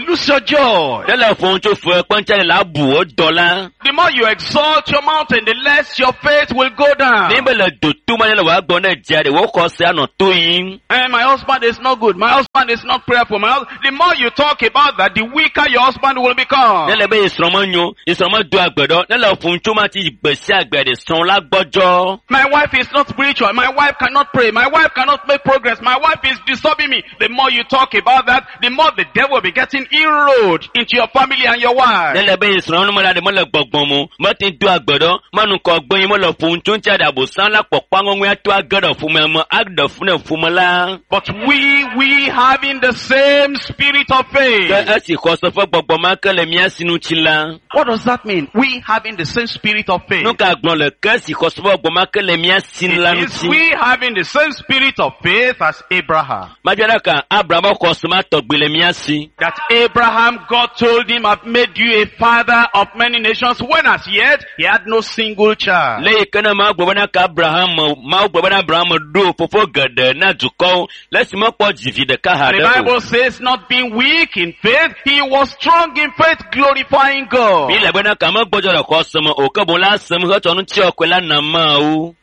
lose your joy. Ne le ƒom tso fe kpɔntsa le la bu wo dɔ la. The more you exalt your mountain, the less your faith will go down. Ne be le doto ma ne le wòa gbɔ ne dzia ɖe wo xɔsea nɔ to yim. Eh, my husband is not good. My husband is not prayerful. The more you talk about that, the weaker your husband will become. Ne le be esrɔ̃ menyo esrɔ̃ medo agbe ɖɔ ne le ƒom tso ma ti gbe sia gbe ɖe srɔ̃ la gbɔdzɔ. My wife is not spiritual. My wife cannot pray. My wife cannot make progress. My wife is disturbing me. The more you talk about that, the more the devil will be getting inroad into your family and your wife. Ne le be esrɔ̃ nu me la ɖe mele gbɔgbɔm o mete do agbe ɖɔ menukɔ gbe yi mele ƒom tso ŋuti aɖe abosam la kpɔkpɔ ŋɔŋɔe ato age ɖe ƒome me aɖe fu ne ƒome la. But we having the same spirit of faith. Ke esi xɔse ƒe gbɔgbɔ ma ke le mía si ŋuti la. What does that mean? We having the same spirit of faith. Nu ka gblɔ le ke esi xɔse ƒe gbɔgbɔ ma ke le mía si la It is ŋuti. we having the same spirit of faith as Abraham. Madzɔ ɖe ka Abraham ƒe xɔse ma tɔgbi le mía si. That Abraham, God told him, I've made you a father of many nations, when as yet he had no single child. Le yi ke ne Mawu gblɔ bena ka Abraham Mawu gblɔ bena Abraham ɖo fofo geɖe na dukɔwo le esi mekpɔ dzivi ɖeka And the haɖe o. Bible says, not being weak in faith, he was strong in faith, glorifying God. Mi le bena ka megbɔdzɔ le xɔse me o ke boŋ la sem hetsɔ ŋutiɔkɔe la na Mawu.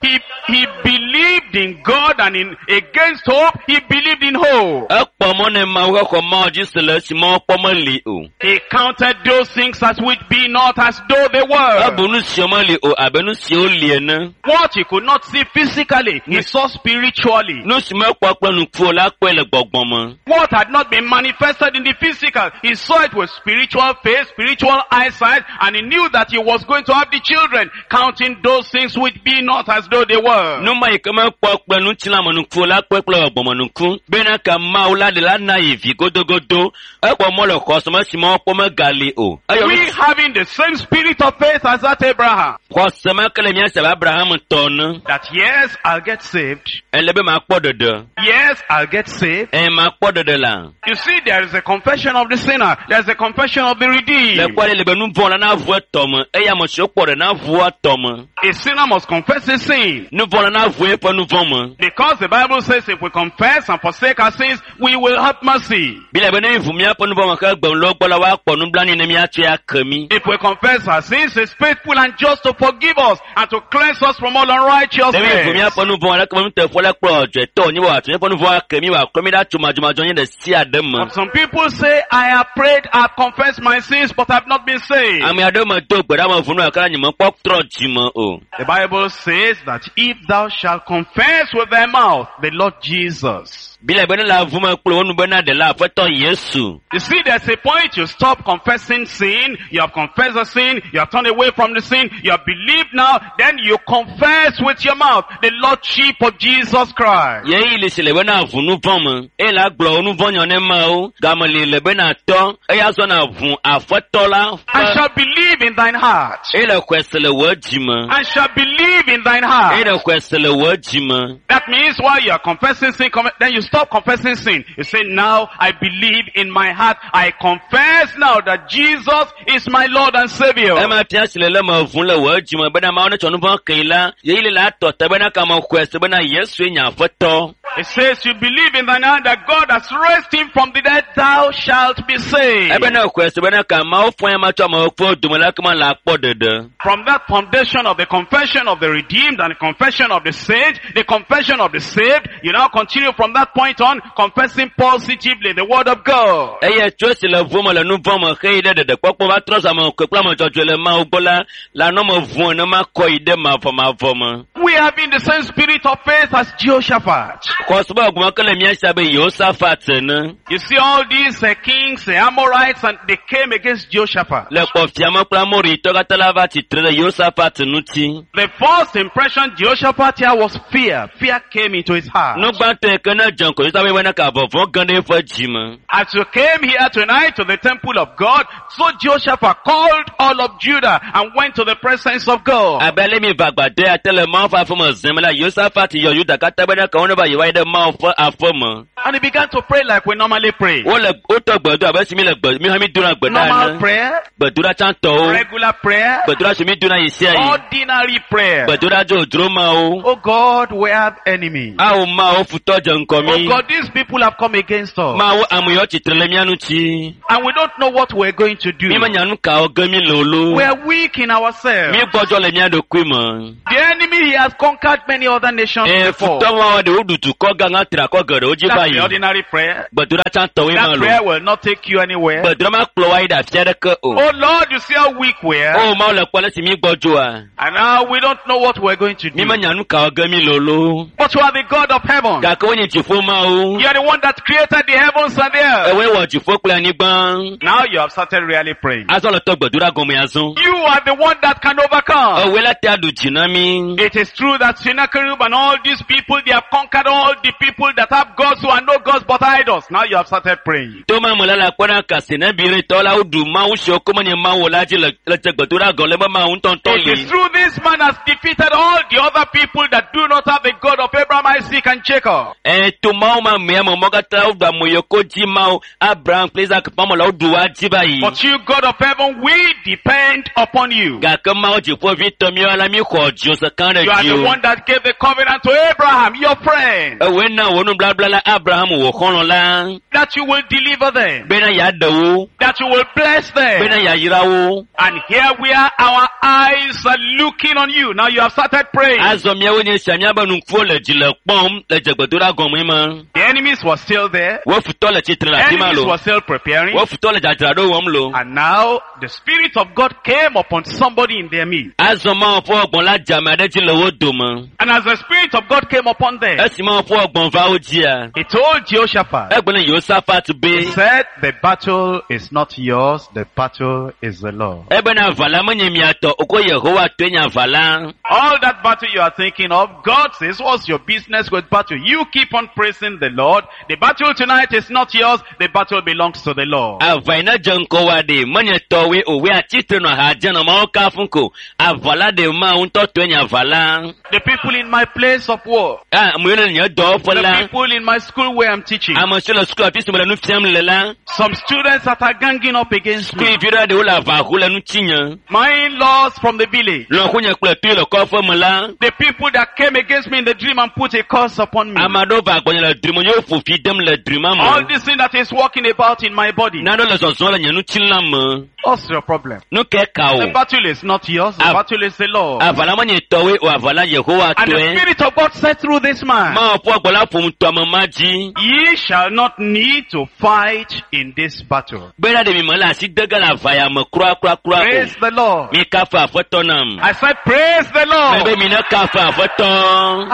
He believed in God and in against hope, he believed in hope. Ekpɔ mɔ ne Mawu hexɔ Mawu dzi se le esi Mawu kpɔ meli o. He counted those things as which be not as though they were. Ebu nu siwo meli o abe nu siwo li ene. What he could not see physically, he saw spiritually. Nu si mekpɔ kple nuku o la kpɔe le gbɔgbɔ me. What had not been manifested in the physical, he saw it with spiritual faith, spiritual eyesight, and he knew that he was going to have the children, counting those things which be not as though they were. Nu ma yi ke mekpɔ kple ŋutilãmenuku o la kpɔe kple gbɔgbɔmenuku. Bena ka Mawu la ɖe la na yi vi godogodo. Ekpɔ mɔ le xɔse me si Mawu kpɔ megali o. Eyɔ We nu having the same spirit of faith as that Abraham. xɔse ma ke le mía si abe Abraham tɔ ene. That yes, I'll get saved. Ele be makpɔ ɖeɖe. Yes, I'll get saved. Ɛ makpɔ ɖeɖe la. You see, there is a confession of the sinner. There's a confession of the Le redeemed. kpɔ ɖe le be nu vɔ̃ la na ʋu etɔ me eye ame siwo kpɔ ɖe na ʋu etɔ me. A sinner must confess his sin. Nu vɔ̃ la na ʋu eƒe nu vɔ̃ me. Because the Bible says if we confess and forsake our sins, we will have mercy. Biblia be ne ʋu míaƒe nu vɔ̃ me ke gbe le wo gbɔ la woakpɔ nublanui ne míatsɔe ake mí. If we confess our sins, he's faithful and just to forgive us and to cleanse us from all Ne mi ʋu unrighteousness. míaƒe nu vɔ̃ aleke be nuteƒe la kple ɔdzɔetɔ wònye be wòatsɔ míaƒe nu vɔ̃ ake mí wòaklɔ mí ɖa tso madzɔmadzɔ nye ɖe sia ɖe me. But some people say, I have prayed, I have confessed my sins, but I've not been saved. Ame aɖewo me do gbe ɖa me ʋu nu gake la nye mekpɔ trɔ dzime o. The Bible says that if thou shalt confess with thy mouth the Lord Jesus, Biblia be ne le avu me kple wo nu bena ɖela aƒetɔ Yesu. You see, there's a point you stop confessing sin, you have confessed the sin, you have turned away from the sin, you have believed now, then you confess with your mouth the Lordship of Jesus Christ. Yeyi le si le bena avu nu vɔ̃ me eye la gblɔ wo nu vɔ̃ nyɔ ne mawo game li le bena tɔ eya zɔ na ʋu aƒetɔ la And ƒe shall believe in thine heart. eye le xɔe se le wò dzi me And shall believe in thine eye heart. le xɔe se le wò dzi me. That means while you are confessing sin, then you stop confessing sin. You say, now I believe in my heart. I confess now that Jesus is my Lord and Savior. Ema fia si le le me ʋu le wò dzi me bena mawo ne tsɔ nu vɔ̃ kee la yeyi le la tɔ te bena kame xɔe se bena Yesue nye aƒetɔ. It says you believe in thine heart that God has raised him from the dead, thou shalt be saved. Ebena xɔe se bena ka mawo fɔ ya ma tsɔ amewo ƒe dome la kema la kpɔ ɖeɖe. From that foundation of the confession of the redeemed and the confession of the saved, the confession of the saved, you now continue from that point on confessing positively the word of God. Eye tso esi le ʋu me le nu vɔ̃ me xeyi ɖe ɖeɖekpɔkpɔ va trɔ zu ame kple ame dzɔdzɔe le Mawu gbɔ la, le anɔ me ʋu ene ma kɔ yi ɖe mavɔmavɔ me. We have been the same spirit of faith as Jehoshaphat. Xɔse be gbɔgbɔ ke le mía si abe Yehosafat ene. You see all these kings, the Amorites, and they came against Jehoshaphat. Le kpɔfiame kple Amoritɔ katã la va tsitre ɖe Yehosafat ŋuti. The first impression Jehoshaphat here was fear. Fear came into his heart. Nu gbãtɔ yi ke ne dze ŋgɔ Yehosafat bena ka vɔvɔ̃ ge ɖe eƒe dzi me. As you came here tonight to the temple of God, so Jehoshaphat called all of Judah and went to the presence of God. Abe ale mi va agbadɔ ya te le Mawu ƒe aƒe me zem la, Yehosafat yɔ Yuda katã bena ka wo ne va yewoayi ɖe Mawu ƒe aƒe me. And he began to pray like we normally pray. Wole wotɔ gbe do abe si mi le gbe mi hã mi dona gbe ɖa Normal ene. prayer, Gbedoɖa tsãtɔwo. regular prayer, Gbedoɖa si mi dona yi sia yi. ordinary prayer. Gbedoɖa dzodzro mawo. Oh God, we have enemies. Awo mawo futɔ dze ŋgɔ Oh mi. God, these people have come against us. Mawo ame yawo tsitre le mía ŋuti. And we don't know what we're going to do. Mi menya nu kawo ge mi le o lo. We are weak in ourselves. Mi gbɔdzɔ le mía ɖokui me. The enemy, he has conquered many other nations Ee before. futɔ mawo ɖe woɖu dukɔ gã tri akɔ geɖewo dzi va That's the yi. ordinary prayer. Gbedoɖa tsãtɔwoe ma That lo. prayer will not take you anywhere. Gbedoɖa ma kplɔ wa yi ɖe afi aɖeke o. Oh Lord, you see how weak we are. O Mawu le kpɔ ale si mi gbɔdzɔa. And now we don't know what we're going to Mi do. menya nu kawo ge mi le o lo. But you are the God of heaven. Gake wonye dziƒo Mawu. You are the one that created the heavens and the earth. Ewoe wɔ dziƒo kple anyigba. Now you have started really praying. Azɔ le tɔ gbedoɖa gɔme azɔ. You are the one that can overcome. Ewoe la te aɖu dzi na mi. It is true that Sennacherib and all these people, they have conquered all the people that have gods who are no gods but idols. Now you have started praying. Toma me la le akpɔ na kase ne biretɔ la woɖu mawu siwo ko menye mawu o la dzi le le dze gbedoɖa gɔme le be mawu ŋutɔŋutɔ It is li. true this man has defeated all the other people that do not have the God of Abraham, Isaac and Jacob. Ɛ to mawu ma mea me mɔ katã woɖu ame yiwo ko dzi mawu Abraham kple Isaac ƒe ame la woɖu woa dzi va yi. But you, God of heaven, we depend upon you. Gake mawu dziƒovitɔ míawo la mi xɔ dziwò kã ɖe You are the dziwò. one that gave the covenant to Abraham, your friend, Ewoe na wò nubabla la Abraham wò xɔlɔ̃ la that you will deliver them, bena yeaɖe wo, that you will bless bena them. yeayra wo. And here we are, our eyes are looking on you. Now you have started praying. Azɔ míawo nye sia míabe nukuwo le dzi le kpɔm le dze gbedoɖa gɔme ma. The enemies were still there. Wo futɔ le tsitre le afi ma Enemies lo. were still preparing. Wo futɔ le dzadzraɖo wɔm lo. And now the Spirit of God came upon somebody in their midst. Azɔ Mawu ƒe gbɔgbɔ la dze ame aɖe dzi le wo dome. And as the Spirit of God came upon them, Esi Mawu ƒe gbɔgbɔ va wo dzia, he told Jehoshaphat, egblɔ na Yehosafat be, he said, the battle is not yours, the battle is the Lord. ebena aʋa la menye mia tɔ o ko Yehowa tɔe nye aʋa la. All that battle you are thinking of, God says, what's your business with battle? You keep on praising the Lord. The battle tonight is not yours, the battle belongs to the Lord. Aʋa yi ne dze ŋgɔ wa ɖe menye tɔwoe o, woe atsitre nɔ ha dze nɔ Mawu kafum ko. Aʋa la ɖe Mawu ŋutɔ tɔe nye aʋa la. The people in my place of work, Ah, ame yiwo le nye dɔwɔƒe the la, people in my school where I'm teaching, ame siwo le suku afi si mele nu fiam le la, some students that are ganging up against me, sukuvi ɖe ɖewo le aʋa ho le ŋutinye. my in-laws from the village, Lɔ̃xonye kple tui le kɔƒe me la, the people that came against me in the dream and put a curse upon me. ame aɖewo va gbɔnye le drime ye woƒo fi dem le drima All me. this thing that is walking about in my body. Nanewo le zɔzɔm le nye ŋutilã me. What's your problem? Nu ke ka The o? battle is not yours, the Ah. battle is the Lord. Aʋa la menye tɔwoe o, aʋa la Yehowa And the tɔe. Spirit of God said through this man, Mawu ƒe gbɔ la ƒom tɔ ame ma dzi. ye shall not need to fight in this battle. Bena ɖe mi me le asi de ge le aʋa ya me kura kura kura o. Praise the Lord. Mi kafu aƒetɔ nam. I said, praise the Mebe Lord. mi ne kafu aƒetɔ.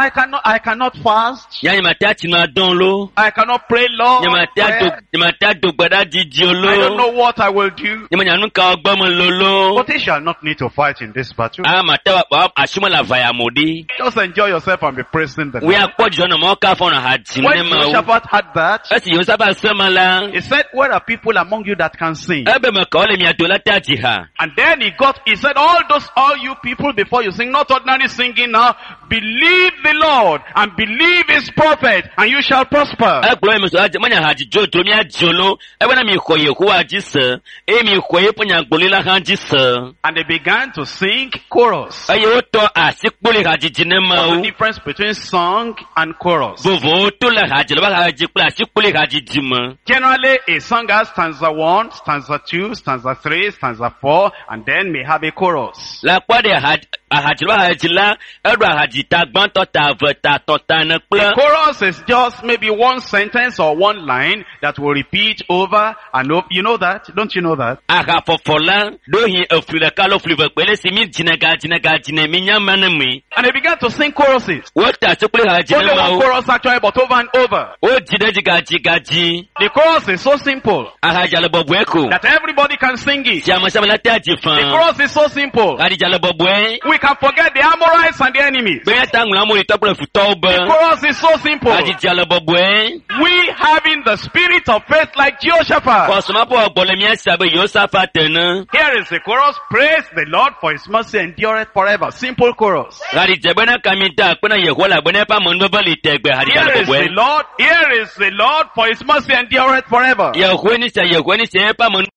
I cannot fast. Nya nye mate atsi dzima dɔn lo. I cannot pray long. Nyemate ado prayer. nyemate ado gbe ɖa didi o I don't lo. know what I will do. Nyemenya nu ka gbɔ me lolo. But he shall not need to fight in this battle. Ama te wa asime le avaya mo ɖi. Just enjoy yourself and be praising the Wo Lord. ya kpɔ dzidzɔ nɔ mɔ ka fɔ nɔ ha dzim When ne ma wo. Jehoshaphat had that, Esi Yehoshaphat se ma la, he said, Where are people among you that can sing? ebe me kawo le mia do la te adzi ha. And then he said, all you people before you sing, not ordinary singing now, believe the Lord and believe his prophet and you shall prosper. Egblɔ yi me sɔ adze menya ha dzidzo dzro mia dzo lo. Ebena mi xɔ Yehowa dzi se eye mi xɔ eƒe nyagblɔɖi la hã dzi se. And they began to sing chorus. Eye wotɔ asikpoli hadzidzi ne What's mawo. the difference between song and chorus? Vovowo to le hadzidzi le hadzidzi kple asikpoli hadzidzi me. Generally, a song has stanza 1, stanza 2, stanza 3, stanza 4, and then may have a chorus. Le akpɔ ɖe ahadzi le hadzidzi la, eɖo ahadzi ta gbãtɔ ta eve ta tɔ̃ ta ene kple The chorus is just maybe one sentence or one line that will repeat over and over. You know that? Don't you know that? ahafɔfɔ la ɖohi efli ɖeka alo fli eve kpe le si mi dzine ga dzine ga dzine mi nya ma ne mi. And they began to sing choruses. Wote asikpoli hadzidzi Only ne one mawo. chorus actually, but over and over. Wodzi ɖe dzi gadzi gadzi. The chorus is so simple Ahadza le bɔbɔe ko. that everybody can sing it. Si ame sia ame la te adzi The fãa. chorus is so simple. Hadzidza le bɔbɔe. We can forget the Amorites and the enemies. Be míata ŋlɔ amoritɔ kple futɔwo The be. chorus is so simple. Hadzidza le bɔbɔe. We having the spirit of faith like Jehoshaphat. Kɔsɔmafɔ gbɔ le mía si abe Yehosafat ene. Here is the chorus. Praise the Lord for his mercy endureth forever. Simple chorus. Hadzidze bena kami da akpe na Yehowa le abe ne eƒe amenuveve li tegbe hadzidza Here le is the bɔbɔe. Lord. Here is the Lord for his mercy endureth forever. Yehowa ni sia Yehowa ni sia eƒe amenuveve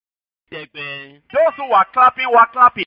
tegbe. Those who were clapping were clapping.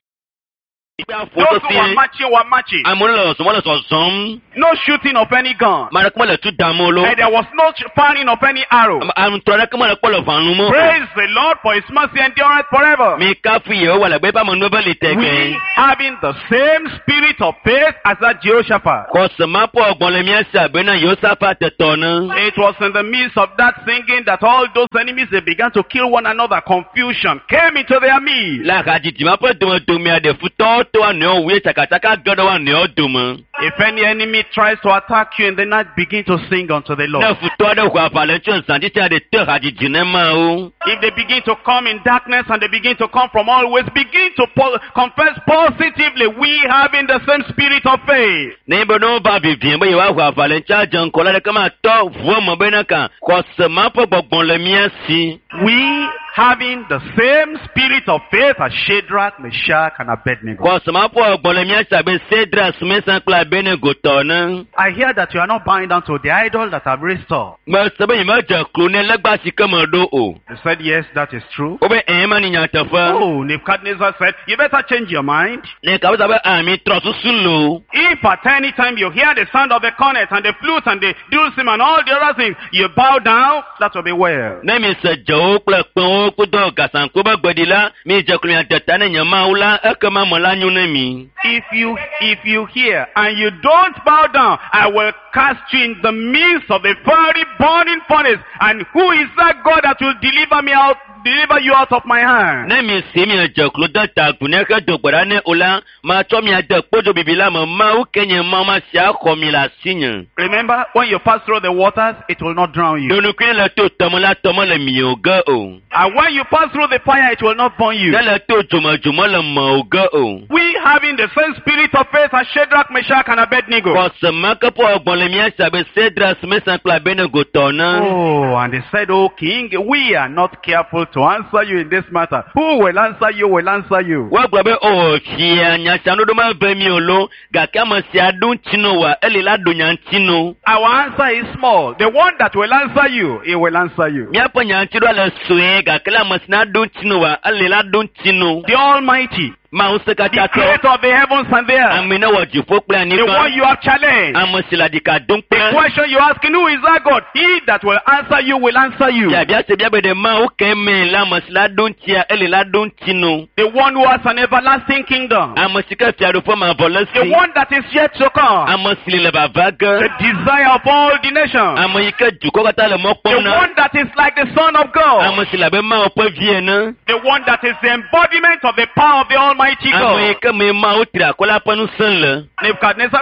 Those who were marching were marching. Amewo le zɔzɔm wole zɔzɔm. No shooting of any gun. Ame aɖeke mele tu dam o lo. And there was no firing of any arrow. Aŋutrɔ aɖeke mele kpɔ le ʋãnu me o. Praise the Lord for his mercy endureth forever. Mi kafu Yehowa le abe eƒe amenuveve li We tegbe. having the same spirit of faith as that Jehoshaphat. Kɔsɔmafɔ gbɔ le mía si abe na Yehosafat tɔ ne. It was in the midst of that singing that all those enemies, they began to kill one another. Confusion came into their midst. Le hadzidzi ma ƒe domedomea ɖe futɔwo to woa nɔewo wu ye tsakatsaka ge ɖe woa nɔewo dome. If any enemy tries to attack you in the night, begin to sing unto the Ne Lord. futɔ aɖe ʋu aʋa le ŋuti zã titi aɖe te hadzidzi ne mawo. If they begin to come in darkness and they begin to come from all ways, begin to confess positively, we having the same spirit of faith. Ne be ne wova vivie be yewoaʋu aʋa le ŋuti adze ŋgɔ la ɖeke matɔ ʋua me bena ka xɔse ma ƒe gbɔgbɔ le mía si. We having the same spirit of faith as Shadrach, Meshach, and Abednego. Xɔse ma ƒe gbɔgbɔ le mía si abe Sedrak, Mesak kple Abednego tɔ ene. I hear that you are not bowing down to the idol that I've raised up. Mese be nyemedze klo ne legba si ke meɖo o. They said, yes, that is true. Wobe ɛ̃ ma ni nyateƒe. Oh, Nebuchadnezzar said, you better change your mind. Ne kabasa be ami trɔ susu lo. If at any time you hear the sound of the cornet and the flute and the dulcimer and all the other things, you bow down, that will be well. Ne mi se dzewo kple kpẽwo kudo gasanko be gbeɖi la, mi dze klo mia de ta ne nye Mawu la, ekema me la nyo ne mi. If you hear and you don't bow down, I will cast you in the midst of a fiery burning furnace. And who is that God that will deliver me out, deliver you out of my hand? Ne mi si mi dze klo de ta agu ne hedo gbe ɖa ne o la, matsɔ mia de kpodzo bibi la me Mawu ke nye Mawu ma sia xɔ mi le asinye. Remember, when you pass through the waters, it will not drown you. Ɖonukui le to tɔme la tɔme le miwo ge o. And when you pass through the fire, it will not burn you. Ne le to dzome dzome le mewò ge o. We having the same spirit of faith as Shadrach, Meshach, and Abednego. Xɔse ma ke ƒe gbɔgbɔ le mía si abe Sedrak, Mesak kple Abednego tɔ ene. Oh, and they said, Oh king, we are not careful to answer you in this matter. Who will answer you will answer you. Woagblɔ be o fia nya sia ɖoɖo meve mi o lo gake ame sia ɖo ŋuti no wa eli la ɖo nya ŋuti no. Our answer is small. The one that will answer you, he will answer you. Míaƒe nya ŋuti ɖoa le sue gake le ame si na ɖo ŋuti no wa eli la ɖo ŋuti no. The Almighty, Mawu se the katã tɔ. creator of the heavens and the earth, Ame ne wɔ dziƒo kple the anyigba. one you have challenged. Ame si le aɖika dom The kple. question you asking, who is that God? He that will answer you will answer you. Biabia se bia be ɖe Mawu ke me la ame si la ɖo ŋutia eli la ɖo ŋuti no. The one who has an everlasting kingdom. Ame si ke fiaɖuƒe mavɔ le The si. one that is yet to come. Ame si le vava The ge. desire of all the nations. Ame yi ke dukɔ katã le mɔ The kpɔm na. one that is like the Son of God. Ame si le abe Mawu ƒe vi ene. The one that is the embodiment of the power of the Almighty. Almighty Ame yi God. ke me Mawu tri akɔ la ƒe ŋusẽ le. Nebuchadnezzar,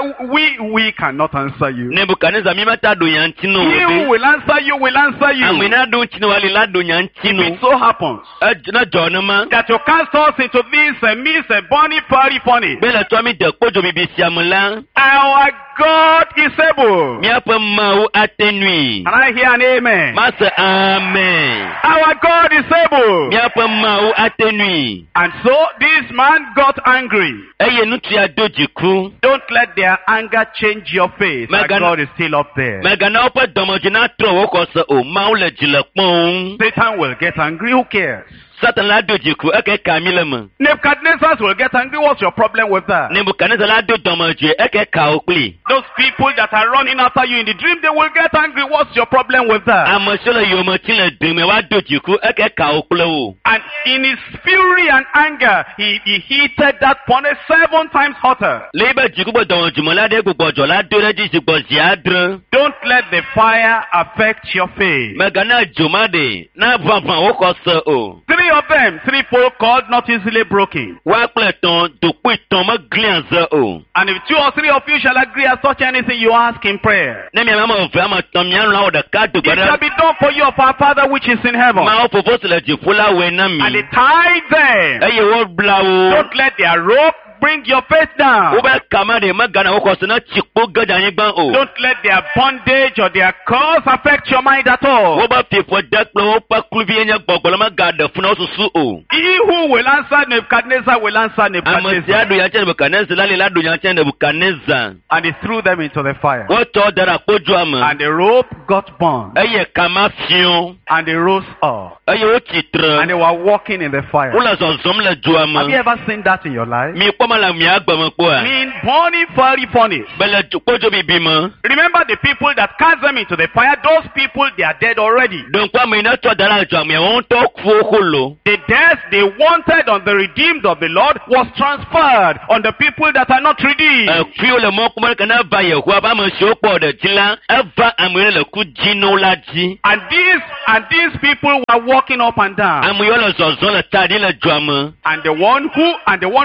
we cannot answer you. Nebukadnezar mi meta ɖo nya ŋuti na He o who be. will answer you will answer Ame you. na ɖo ŋuti na wòali la ɖo nya ŋuti If no. it so happens Edz ne dzɔ nema. that you cast us into this midst a burning fiery furnace, Be le tsɔ mi de kpodzo bibi sia me la, our God is able. míaƒe Mawu ate nui. Can I hear an amen? Mase amen. Our God is able. Míaƒe Mawu ate nui. And so this man got angry. Eye ŋutsu ya do dziku. Don't let their anger change your face. Our Megan- God is still up there. Mègana woƒe dɔmedzoe natrɔ wò xɔse o. Mawu le dzi le kpɔm. Satan will get angry. Who cares? Satan la do dziku eke ka mi le me. Nebuchadnezzar will get angry. What's your problem with that? Nebukadnezar la do dɔmedzoe eke ka wo kpli. Those people that are running after you in the dream, they will get angry. What's your problem with that? Ame siwo le yome tim le dome woado dziku eke ka wo kple wo. And in his fury and anger, he heated that furnace 7 times hotter. Le yibe dziku be dɔmedzoe me la ɖe gbugbɔdzɔ la do ɖe edzi zi gbɔ zi adre. Don't let the fire affect your faith. Mègana dzo ma ɖe na ʋaʋã wo xɔse o. 3 of them, threefold cord, not easily broken. Woa kple etɔ̃ dokpoe tɔ̃ meglia ze o. And if 2 or 3 of you shall agree as touch anything you ask in prayer, Ne miame ame eve ame etɔ̃ mialɔ̃ awɔ ɖeka do it gbe shall ɖe be done for you of our Father which is in heaven. Mawu fofo si le dziƒo la wɔe na And they mi. tied them. Eye wobla wo. Don't let their rope bring your faith down. Wobe kama ɖe megana wo xɔse ne tsi kpo ge ɖe anyigba o. Don't let their bondage or their curse affect your mind at all. Wobe fiƒode kple woƒe kluvi nye gbɔgbɔ la megaɖe fu na wo susu o. He who will answer Nebuchadnezzar will answer Ame sia Nebuchadnezzar. ɖo nya tse Nebukadnezar la li la ɖo nya tse Nebukadnezar. And he threw them into the fire. Wotsɔ wo da ɖe akpodzoa me And the rope got burned. eye kama fiɔ And they rose up. eye wotsi tre. And they were walking in the fire. Wole zɔzɔm le dzoa Have you me. ever seen that in your life? Mi kpɔ me le mia gbe me kpɔa? In burning fiery furnace. Be le kpodzo bibi me. Remember the people that cast them into the fire? Those people, they are dead already. Ɖo ŋku ame yi ne tsɔ da ɖe dzoa mea, woawo ŋutɔ ku wo xolo. The death they wanted on the redeemed of the Lord was transferred on the people that are not redeemed. Ekuiwo le mɔ kpɔm ɖe ke ne va Yehowa ƒe ame siwo kpɔ ɖe dzi la, eva ame yiwo le ku dzi na wo la dzi. And these people were walking up and down. Ame yiwo le zɔzɔm le ta ɖi le dzoa me. And the one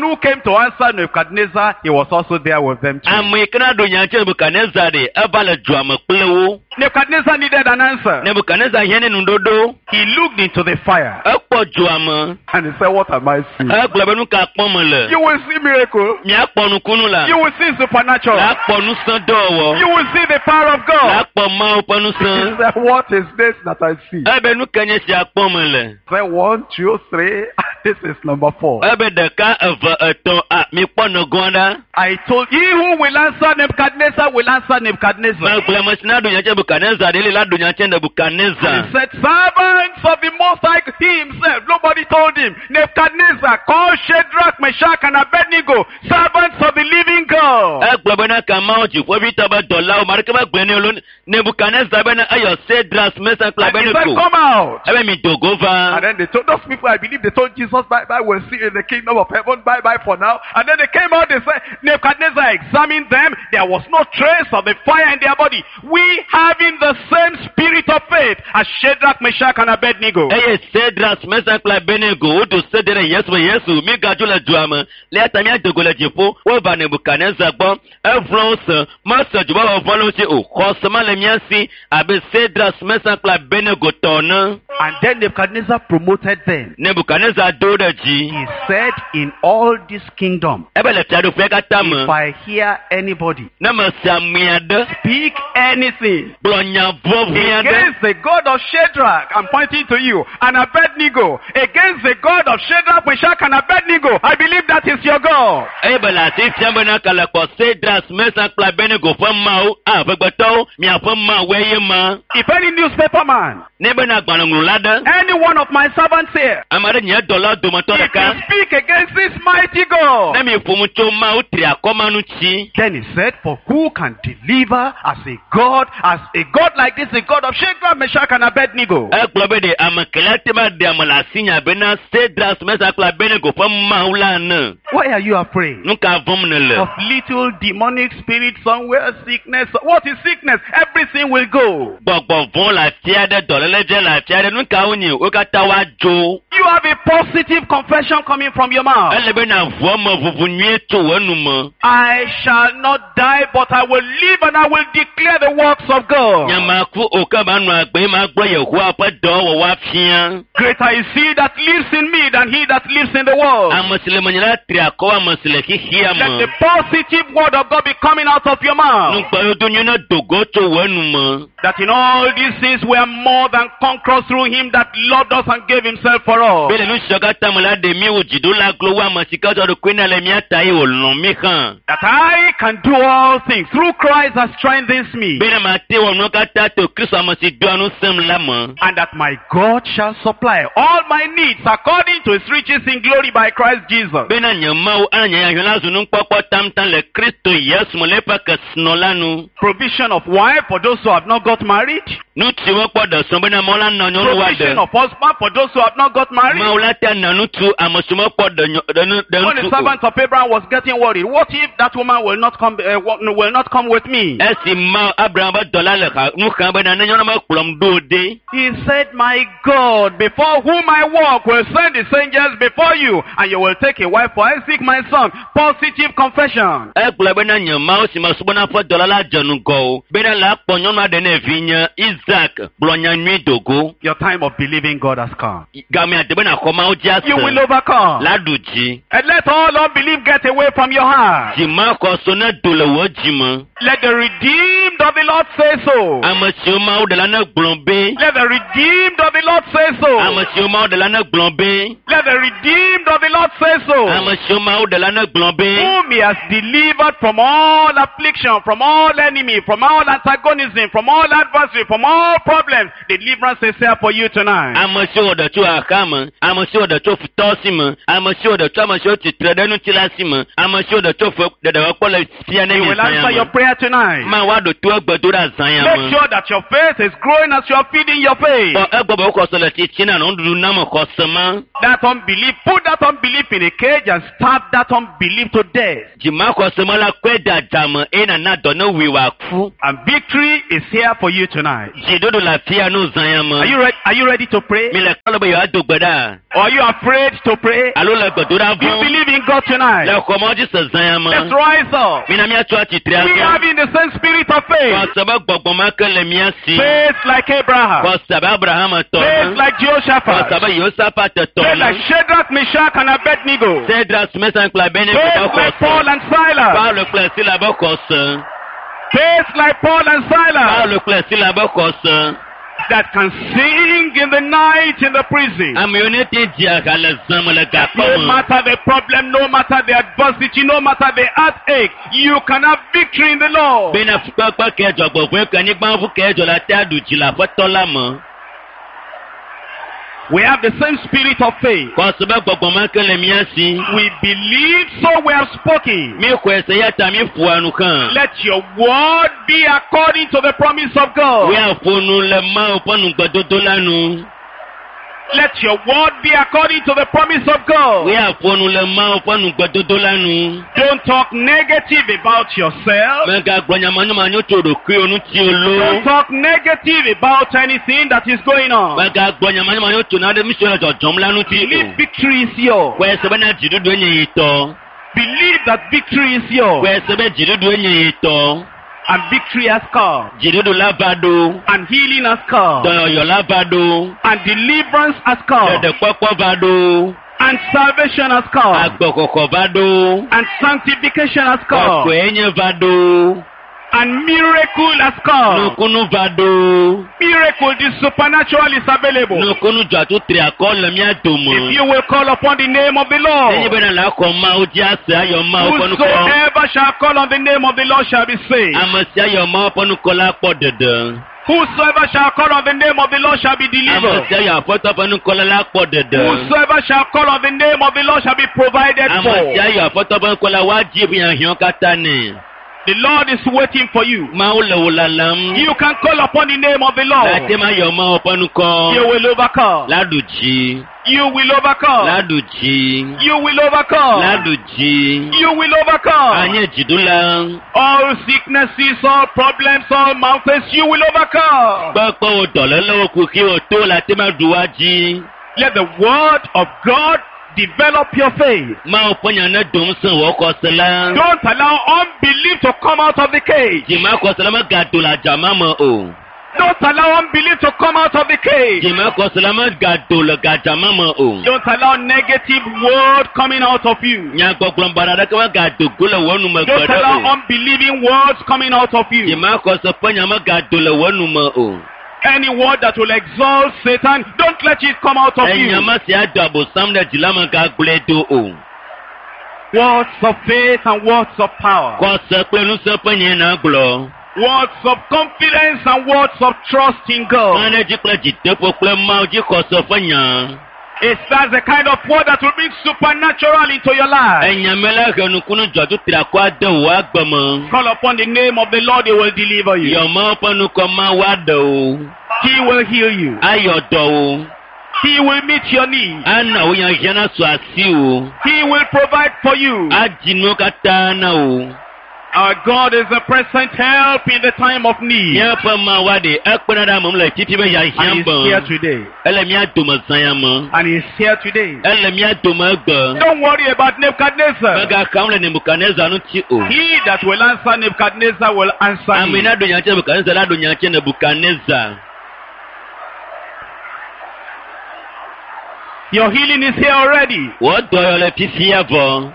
who came to answer Nebuchadnezzar, he was also there with them too. Ame yi ke na ɖo nya ŋuti Nebukadnezar ɖe, eva le dzoa me kple wo. Nebuchadnezzar needed an answer. Nebukadnezar hiã ne nuɖoɖo. He looked into the fire Ekpɔ dzoa me. and he said, "What am I seeing?" Egblɔ be nu ka kpɔm mele? You will see miracle. Miakpɔ nukunu la. You will see supernatural. Lakpɔ ŋusẽ dɔwɔwɔ. You will see the power of God. Lakpɔ Mawu ƒe He ŋusẽ. said, "What is this that I see?" Ebe nu ke nye sia kpɔm mele? He said, 1, 2, 3. This is number 4. Ebe ɖeka, eve, etɔ̃, a mikpɔ nɔgɔa ɖa. I told he who will answer Nebuchadnezzar will answer Nebuchadnezzar. Megblɔ ame si na ɖo nya tse Nebukadnezar ɖe li la ɖo nya tse And Nebukadnezar. he said, servants of the Most High, he himself, nobody told him. Nebuchadnezzar called Shadrach, Meshach, and Abednego, servants of the living God. Egblɔ bena ka Mawu dziƒoʋĩtɔ be dɔlawo, ame aɖeke megblɔe nɛ o lo. Nebukadnezar bena eyɔ Sedras, Mesak kple And he said, Abednego. come out. Ebe mi do go And va. then they told those people, I believe they told Jesus, bye bye, we'll see you in the kingdom of heaven, bye bye for now. And then they came out, they said, Nebuchadnezzar examined them, there was no trace of the fire in their body. We having the same spirit of faith as Shadrach, Meshach, and Abednego. Eye Sedras, Mesak kple Abednego wodo se ɖe ɖe Yesu be Yesu migadzo le dua me. Le eya ta míado go le dziƒo. Wova Nebukadnezar gbɔ. Evlɔ wo se. Mese dzo be vɔvɔ̃ le wo si o. Xɔse ma le mía si abe Sedras, Mesak kple Abednego tɔ ene. And then Nebuchadnezzar promoted them. Nebukadnezar do wo ɖe dzi. He said, in all this kingdom, Ebe le fiaɖuƒea katã me. if I hear anybody Ne mese ame aɖe speak anything gblɔ nya vɔvɔ̃ aɖe against the God of Shadrach, I'm pointing to you, and Abednego, against the God of Shadrach, Meshach, and Abednego, I believe that is your God. eye be le asi fiam bena kele kpɔ Sedras, Mesak kple Abednego ƒe Mawu, a ƒegbetɔwo, miaƒe Mawue ye ma. If any newspaper man, Ne bena agbalẽŋlɔla aɖe, any one of my servants here, ame aɖe nye dɔlawo dometɔ if you ɖeka, speak against this mighty God, ne mi ƒo nu tso Mawu tri akɔma ŋuti, then he said, for who can deliver as a God, as a God like this, the God of Shadrach, Meshach, and Abednego? egblɔ be ɖe ame kelia te va ɖe ame le asinya bena Sedras, Mesak kple Abednego ƒe Mawu la ene. Why are you afraid? Nu ka vɔ̃m nèle? Of little demonic spirit somewhere, sickness. What is sickness? Everything will go. Gbɔgbɔ vɔ̃ le afi aɖe, dɔléle dze le afi aɖe, nu ka wonye? Wo katã woadzo. You You have a positive confession coming from your mouth. Ele be na ʋu eme ʋuʋu nyuie tso wò enume. I shall not die, but I will live and I will declare the works of God. Nyemaku o ke manɔ agbe ye magblɔ Yehowa ƒe dɔwɔwɔ afia. Greater is he that lives in me than he that lives in the world. Ame si le menye la tri akɔ wu ame si le xexea Let me. the positive word of God be coming out of your mouth. Nugbeyodo nyui ne do go tso wò enume. That in all these things we are more than conquerors through him that loved us and gave himself for us. Be le nu siawo katã me la ɖe mí wò dziɖula glo wu ame si ke tsɔ ɖokui na le mía ta eye wòlɔ̃ mí hã. That I can do all things through Christ that strengthens me. Be ne mate wɔ nuwo katã to Kristo ame si doa ŋusẽm la me. And that my God shall supply all my needs according to his riches in glory by Christ Jesus. Bena nye Mawu ana nye hiahiã la zu nukpɔkpɔ tamtam le Kristo Yesu me le eƒe kesinɔ la nu. Provision of wife for those who have not got married. Ŋutsu mekpɔ ɖe srɔ̃ bena Mawu la na nyɔnu woaɖe. Provision of husband for those who have not got married. Mawu la te na ŋutsu ame siwo mekpɔ ɖe nyɔ ɖe nu ɖe When the ŋutsu o. servant of Abraham was getting worried, what if that woman will not come, will not come with me? Esi Mawu Abraham ƒe dɔla le xa nu xam bena ne nyɔnua mekplɔm ɖo o ɖe. He said, My God, before whom I walk, will send his angels before you, and you will take a wife for Isaac, my son. Positive confession. Egblɔ bena nye Mawu si mesubɔna ƒe dɔla la dze ŋgɔ o bena la kpɔ nyɔnua ɖe ne vinye Isaac gblɔ nya nyui dogo. Your time of believing God has come. Gamea de bena xɔ Mawu dzi You will ase. overcome. La ɖu dzi. And let all unbelief get away from your heart. Dzimaxɔso ne do le wò dzi me. Let the redeemed of the Lord say so. Ame siwo Mawu ɖe la ne gblɔ be. Let the redeemed of the Lord say so. Ame siwo Mawu ɖe la ne gblɔ be. Let the redeemed of the Lord say so. Ame siwo Mawu ɖe la ne gblɔ be. Whom he has delivered from all affliction, from all enemy, from all antagonism, from all adversary, from all problems. Deliverance is here for you tonight. Ame siwo ɖe tso xaxa me, ame siwo ɖe tso futɔ si me, ame siwo ɖe tso ame siwo tsitre ɖe ŋuti la si me, ame siwo ɖe tso fe ɖeɖewɔkpɔ le fia ne He mi will zã ya answer your me. prayer tonight. Mawu aɖo to egbe do ɖe azã ya Make me. sure that your faith is growing as you are feeding your faith. Kpɔ egbɔ be wo xɔse le tsitsi na nɔ nuɖuɖu nam xɔse ma. That unbelief, put that unbelief in a cage and starve that unbelief to death. Dzimaxɔse ma la kɔe de adzame eye nana dɔ ne wui wòaku. And victory is here for you tonight. Dziɖuɖu le afia no zã ya Are me. you ready? Are you ready to pray? Mi le klalo be yewoado gbe ɖa Or are you afraid to pray? alo le gbedoɖa Do you vɔ̃m believe in God tonight? le xɔmɔ dzi se zã ya me. Let's rise up. Mina míatso atsitre We azɔ. have in the same spirit of faith. Xɔse be gbɔgbɔ ma ke le mía si. Faith like Abraham. Xɔse abe Abraham tɔ Faith ene. like Xɔse Jehoshaphat. abe Yosafat tɔ Faith like ene. Shadrach, Meshach, and Abednego. Sedras, Mesan kple Abednego ƒe Faith like xɔse. Paul and Silas. Paulo kple Sila ƒe xɔse. Faith like Paul and Silas. Paulo kple Sila ƒe xɔse. That can sing in the night in the prison. Ame yiwo ne te dzia ha le zã me le gakpɔ No me. matter the problem, no matter the adversity, no matter the heartache, you can have victory in the Lord. Bena fukpekpe ke dzɔgbevɔ̃e ke anyigba ƒu ke dzɔ la te aɖu dzi le aƒetɔ la me. We have the same spirit of faith. Xɔse be gbɔgbɔ ma ke le mía si. We believe, so we have spoken. Mi xɔe se ya ta mi ƒoa nu hã. Let your word be according to the promise of God. Míaƒo nu le Mawu ƒe nugbedodo la nu. Let your word be according to the promise of God. Míaƒo nu le Mawu ƒe nugbedodo la nu. Don't talk negative about yourself. Mègagblɔ nya manyomanyo tso ɖokuiwò ŋuti o Don't loo. talk negative about anything that is going on. Mègagblɔ nya manyomanyo tso nane nu siwo le dzɔdzɔm la ŋuti Believe o. victory is yours. Xɔe se bena dziɖuɖue nye yi tɔ. Believe that victory is yours. Xɔe se be dziɖuɖue nye yi tɔ. And victory has come. Dziɖuɖu la va ɖo. And healing has come. Dɔyɔyɔ la va ɖo. And deliverance has come. Ɖeɖekpɔkpɔ va ɖo. And salvation has come. Agbexɔxɔ va ɖo. And sanctification has come. Kɔkɔenye va ɖo. And miracle has come. Nukunu va ɖo. Miracle, the supernatural is available. Nukunu dzɔatsu tri akɔ le mía dome. If you will call upon the name of the Nenye Lord, bena la xɔ Mawu dzi ase ayɔ Mawu ƒe nukɔ. whosoever shall call on the name of the Lord shall be saved. Ame sia yɔ Mawu ƒe nukɔ la kpɔ ɖeɖe. Whosoever shall call on the name of the Lord shall be Ame delivered. sia yɔ Aƒetɔ ƒe nukɔ la la kpɔ ɖeɖe. Whosoever shall call on the name of the Lord shall be provided Ame for. sia yɔ Aƒetɔ ƒe nukɔ la woadzi hiahiãwo katã nɛ. The Lord is waiting for you. Mawu le wò lalam. You can call upon the name of the Lord. Ate ma yɔ Mawu ƒe nukɔ. You will overcome. La ɖu dzi. You will overcome. La ɖu dzi. You will La overcome. ɖu dzi. You will overcome. Anye dziɖula. All sicknesses, all problems, all mountains, you will overcome. Kpekpewo, dɔlélewo, kuxiwo, to le ate ma ɖu wa dzi. Let the word of God develop your faith. Mawu ƒe nya ne do ŋusẽ wò xɔse la. Don't allow unbelief to come out of the cage. Dzimaxɔse la megado le adzama me o. Don't allow unbelief to come out of the cage. Dzimaxɔse la megado le gadzama me o. Don't allow negative word coming out of you. Nyagbɔgblɔ baɖa aɖeke megado go le wò nu me Don't gbe ɖe allow o. unbelieving words coming out of you. Dzimaxɔse ƒe nya megado le wò nu me o. Any word that will exalt Satan, don't let it come out of Enya you. ma si ado abosam ɖe dzi la megagblɔe do o. Words of faith and words of power. Xɔse kple ŋusẽ ƒe nyae na gblɔ. Words of confidence and words of trust in God. Mane dzi kple dzideƒo kple Mawu dzi xɔse ƒe nya. It's that's the kind of word that will bring supernatural into your life. Enya me la he nukunu dzɔdu triakɔ ade wò agbe me. Call upon the name of the Lord, He will deliver you. Yɔ Mawu ƒe nukɔ Mawu aɖe wò. He will heal you. Ayɔ dɔ wò. He will meet your need. Ana wò hiahiã nasu asiwò. He will provide for you. Adzi nuwo katã na wò. Our God is a present help in the time of need. Míaƒe Mawu aɖe ekpena ɖe ame ŋu le fifi be And hiahiã He's me. here today. Ele mía dome zã ya me. And He's here today. Ele mía dome egbe. Don't worry about Nebuchadnezzar. Megaxam le Nebukadnezar ŋuti o. He that will answer Nebuchadnezzar will answer Ame him. na ɖo nya tse Nebukadnezar la ɖo nya tse Nebukadnezar. Your healing is here already. Wò dɔyɔ le fifia vɔ.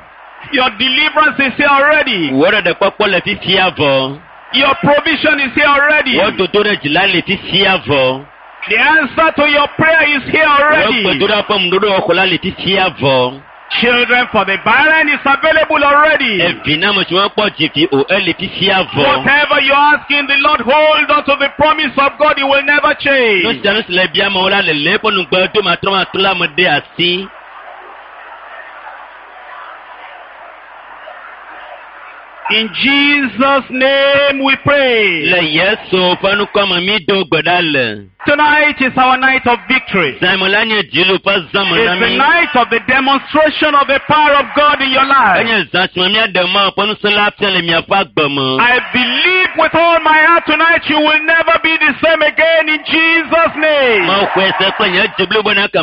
Your deliverance is here already. Wò ɖeɖekpɔkpɔ le fifia vɔ. Your provision is here already. Wò dodo ɖe dzi la le fifia vɔ. The answer to your prayer is here Wò already. gbedoɖa ƒe ŋuɖoɖo xɔ la le fifia vɔ. Children for the barren is available already. Evi na ame siwo mekpɔ dzivi o ele fifia vɔ. Whatever you're asking the Lord, hold on to the promise of God. He will never Nu change. sia nu si le bia amewo la le le eƒe nugbe do matrɔmatrɔ la me ɖe asi. In Jesus' name we pray. Le Yesu ƒe ŋkɔ me mi do gbe ɖa le. Tonight is our night of victory. Zãme la nye dziɖuɖu ƒe zãme na It's the mi. night of the demonstration of the power of God in your life. Enye zã si me míaɖe Mawu ƒe ŋusẽ la fia le miaƒe agbe me. I believe with all my heart tonight you will never be the same again in Jesus' name. Mawu xɔe se kple nye dzi blibo na ke